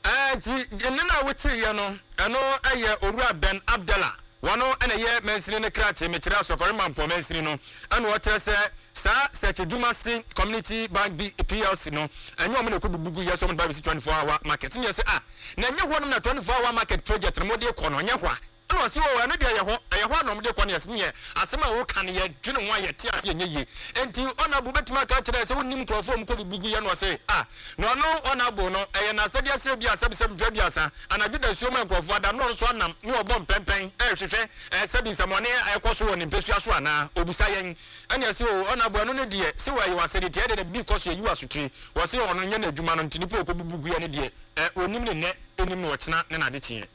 Ɛɛ nti nne no a woteeɛ no, ɛno ɛyɛ Owura Ben Abdallah, wɔno ɛna ɛyɛ mansini no krakye, mekyerɛ Asɔkɔre Mampɔ mansini no, ɛna ɔkyerɛ sɛ saa Sɛkyidumase Community Bank bi P L C no ɛnyɛ ɔmo na ɛkɔ bubu gu yɛ sɛ ɔmo de ba bɛsi twenty four hour market ne yɛ sɛ ah na ɛnyɛ hɔnom na twenty four hour market project no mo de kɔ no ɛnyɛ hɔ a. Ɛna ɔse oo ɛno deɛ ɛyɛ hɔ, ɛyɛ hɔ a na wɔde kɔ no. Yɛse neɛ asɛm a woka no yɛdwene ho a yɛte aseɛ ɛnyɛ yie. Enti Honourable bɛtumi aka akyerɛ yɛ sɛ wonnim nkurɔfoɔ a wɔkɔ bubu gu yɛ? Na ɔse ah na ɔno Honourable no ɛyɛ n'asɛdeɛ sɛ ebia sɛbisɛbi mfeɛ aduasa anadwo dasuo ma nkurɔfoɔ ada na ɔno nso anam ne ɔbɔ mpɛmpɛn ɛrehwehwɛ ɛɛ sɛbi nsɛmɔne a ɛkɔ so wɔ ne mpɛsua so anaa? Ɔbisa yɛn. Ɛna yɛse oo Honourable ɛno no deɛ se ɛyɛ w'asɛdeɛ nti ɛyɛ dɛn na biribi kɔ so yɛyi wo asotire? Ɔse ɔno nyɛ n'adwuma no nti nipa a ɔkɔbubu gu yɛ no deɛ ɛ ɔnnim ne nnɛ ɔnnim no ɔkyena ne n'adekyeɛ.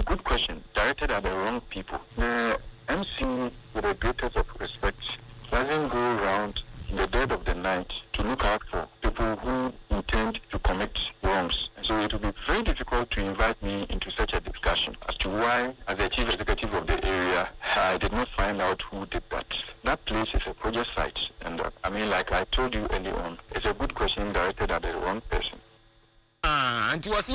Good question directed at the wrong people. The M C, with the greatest of respect, doesn't go round in the dead of the night to look out for people who intend to commit wrongs. And so it will be very difficult to invite me into such a discussion as to why, as the chief executive of the area, I did not find out who did that. That place is a project site, and uh, I mean, like I told you earlier on, it's a good question directed at the wrong person. Ah, nti wɔse